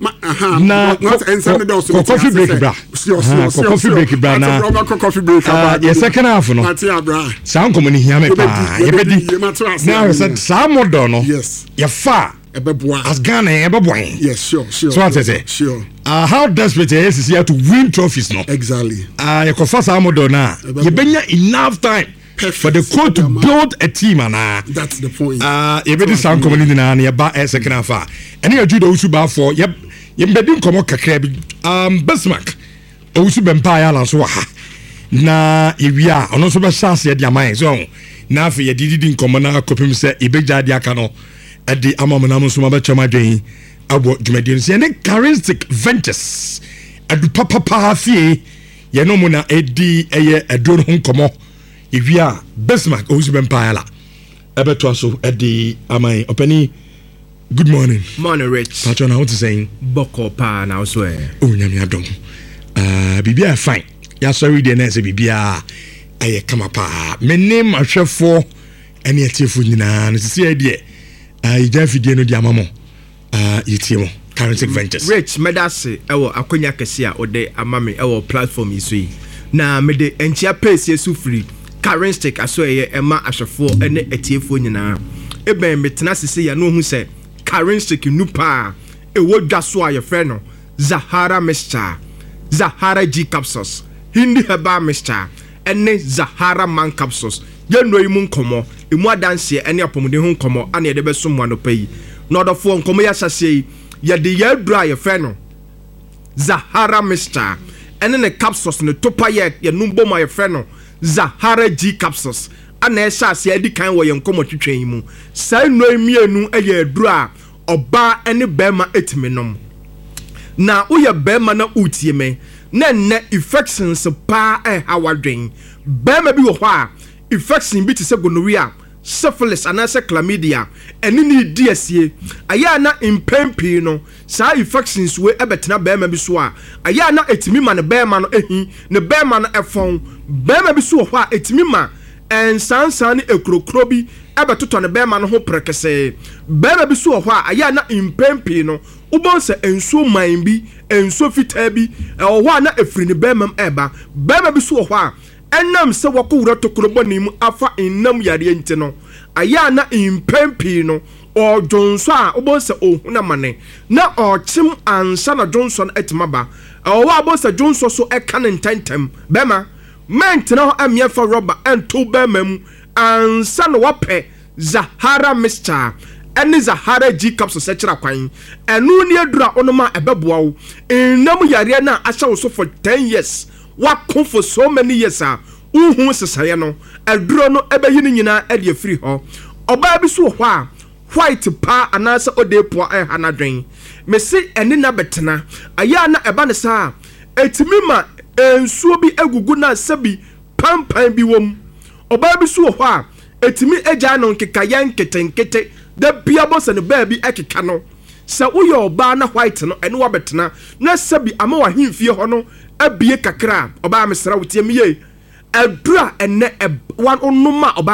Na Na kɔ coffee break bra. Kɔ coffee break bra na kɔ coffee break Ah, yɛ second half no. Mate abra. Saa nkɔmɔ ni hia me paa. Yɛbɛdi, Yɛbɛdi. yɛbɛdi, Na ahwɛ sɛ saa model no. Yes. Yɛfa ɛbɛboa as Ghana yɛn ɛbɛboa yɛn. Yes, sure. So ate sɛ. Sure. How desperate yɛ sisi yɛ to win trophies no. Exactly. Yɛkɔfa saa model no a Ɛbɛboa. yɛbɛnya enough time Perfect. for the coach to build a team anaa. That's the point. Yɛbɛdi saa nkɔmmɔ no nyinaa na yɛba second half a ɛne yɛ Jude Owusu Baafoɔ yɛmbɛdi nkɔmmɔ kakra bi. Bismarck Owusu Bɛmpa ayɛ ala nso wɔ ha na yɛwie a ɔno nso bɛhyɛ aseɛ de ama yɛn so ɔho na afei yɛde didi nkɔmmɔ no akɔpem sɛ yɛbɛgya de aka no ɛde ama mo nam nso mabɛkyɛm adwen abɔ dwumadie no so. Yɛne Charistic Ventures adu papapaa fie yɛne mu na ɛdi ɛyɛ aduro no ho nkɔmmɔ. Yɛwie a Bismarck Owusu Bɛmpa ayɛ la ɛbɛtoa so ɛde ama yɛn. Ɔpani, good morning. Morning, Rich. Patro, na wote sɛn? Bɔkɔ paa na wo so ɛ? Oh, Nyame adom, biribiaa fine. Yɛasɔre deɛ na ɛsɛ biribiaa ɛyɛ kama paa. Me ne mahwɛfoɔ ɛne atiefoɔ nyinaa no sisi yɛ deɛ yɛgya afidie no de ama mo. Yɛtie mo, Charistic Ventures. Rich, mɛda ase ɛwɔ akonnwa kɛse a wode ama me ɛwɔ platform yi so yi. Na mede nkyia pɛɛsie so firi Charistic aso ɛyɛ ɛma ahwɛfoɔ ne atiefoɔ nyinaa. Ebɛn metena sese yɛ no ohu sɛ Charistic nu paa ɛwɔ dwa so a yɛfrɛ no Zahara Mixture, Zahara G capsules, Hindi Herbal Mixture ɛne Zahara Man capsules. Yɛnnuro yi mu nkɔmmɔ, emu adanseɛ ɛne apɔmuden ho nkɔmmɔ ana yɛde bɛsom mo anɔpa yi. Na ɔdɔfoɔ, nkɔmmɔ yi ahyɛseɛ yi, yɛde yɛn aduro a yɛfrɛ no Zahara Mixture ɛne ne capsules ne topa yɛ yɛnum bom a yɛfrɛ no Zahara G capsules ana ɛhyɛ aseɛ adi kan wɔ yɛn nkɔmmɔ twitwa yi mu. Saa nnuro yi mmienu yɛ aduro a ɔbaa ne bɛrima etumi nom. Na woyɛ bɛrima na wotie me na nnɛ infections paa ɛha wadwen. Bɛrima bi wɔ hɔ a infection bi te sɛ gonorrhea, syphilis anaasɛ chlamydia ɛne ne di asie. Ayɛ a na mpɛn pii no saa infections wei ɛbɛtena bɛrima bi so a, ayɛ a na ɛtumi ma ne bɛrima no ehi, ne bɛrima no ɛfɔn. Bɛrima bi so wɔ hɔ a ɛtumi ma nsansan ne ekurokuro bi ɛbɛtotɔ ne bɛrima no ho pɛrɛkɛsɛɛ. Bɛrima bi so wɔ hɔ a ayɛ a na mpɛn pii no wobɛn sɛ nsuo man bi, nsuo fitaa bi ɛwɔ hɔ a na efiri ne bɛrima mu ɛɛba. Bɛrima bi so wɔ hɔ a ɛnam sɛ wɔkɔwura tokuro bɔne mu afa nnam yareɛ nti no, ayɛ a na mpɛn pii no ɔdwonsɔ a wobɛn sɛ ɔhun amane na ɔkyem ansa na dwonsɔ no atumi aba. Ɛwɔ hɔ a wobɛn sɛ dwonsɔ so ɛka ne ntɛntɛm. Bɛrima, mɛntena hɔ ɛmmeɛmfa rɔba ɛnto bɛrima mu ansa na wapɛ Zahara Mixture ɛne Zahara G capsules ɛkyerɛ kwan. Ɛno ne aduru a wonom a ɛbɛboa wo nnam yareɛ no a ahyɛ wo so for 10 years, wako for so many years a. Wohu nsesaeɛ no, aduro no bɛyi ne nyinaa de afiri hɔ. Ɔbaa bi nso wɔ hɔ a, white paa anaasɛ odeepoa ɛreha n'adwene. Mese ɛne no abɛtena. Ɛyɛ a na ɛba no saa a, ɛtumi ma nsuo bi gugu no a sɛbi pampan bi wɔ mu. Ɔbaa bi nso wɔ hɔ a, ɛtumi gyae no nkekayɛ nketenkete. Da biara bɔ sɛ ne baabi keka no. Sɛ woyɛ ɔbaa na white no ɛne wo abɛtena na sɛbi ama w'ahemfie hɔ no abue kakra a, ɔbaa mesrɛ wo tie me yie. Aduru a ɛnnɛ ɛ, wonom a ɔbaa.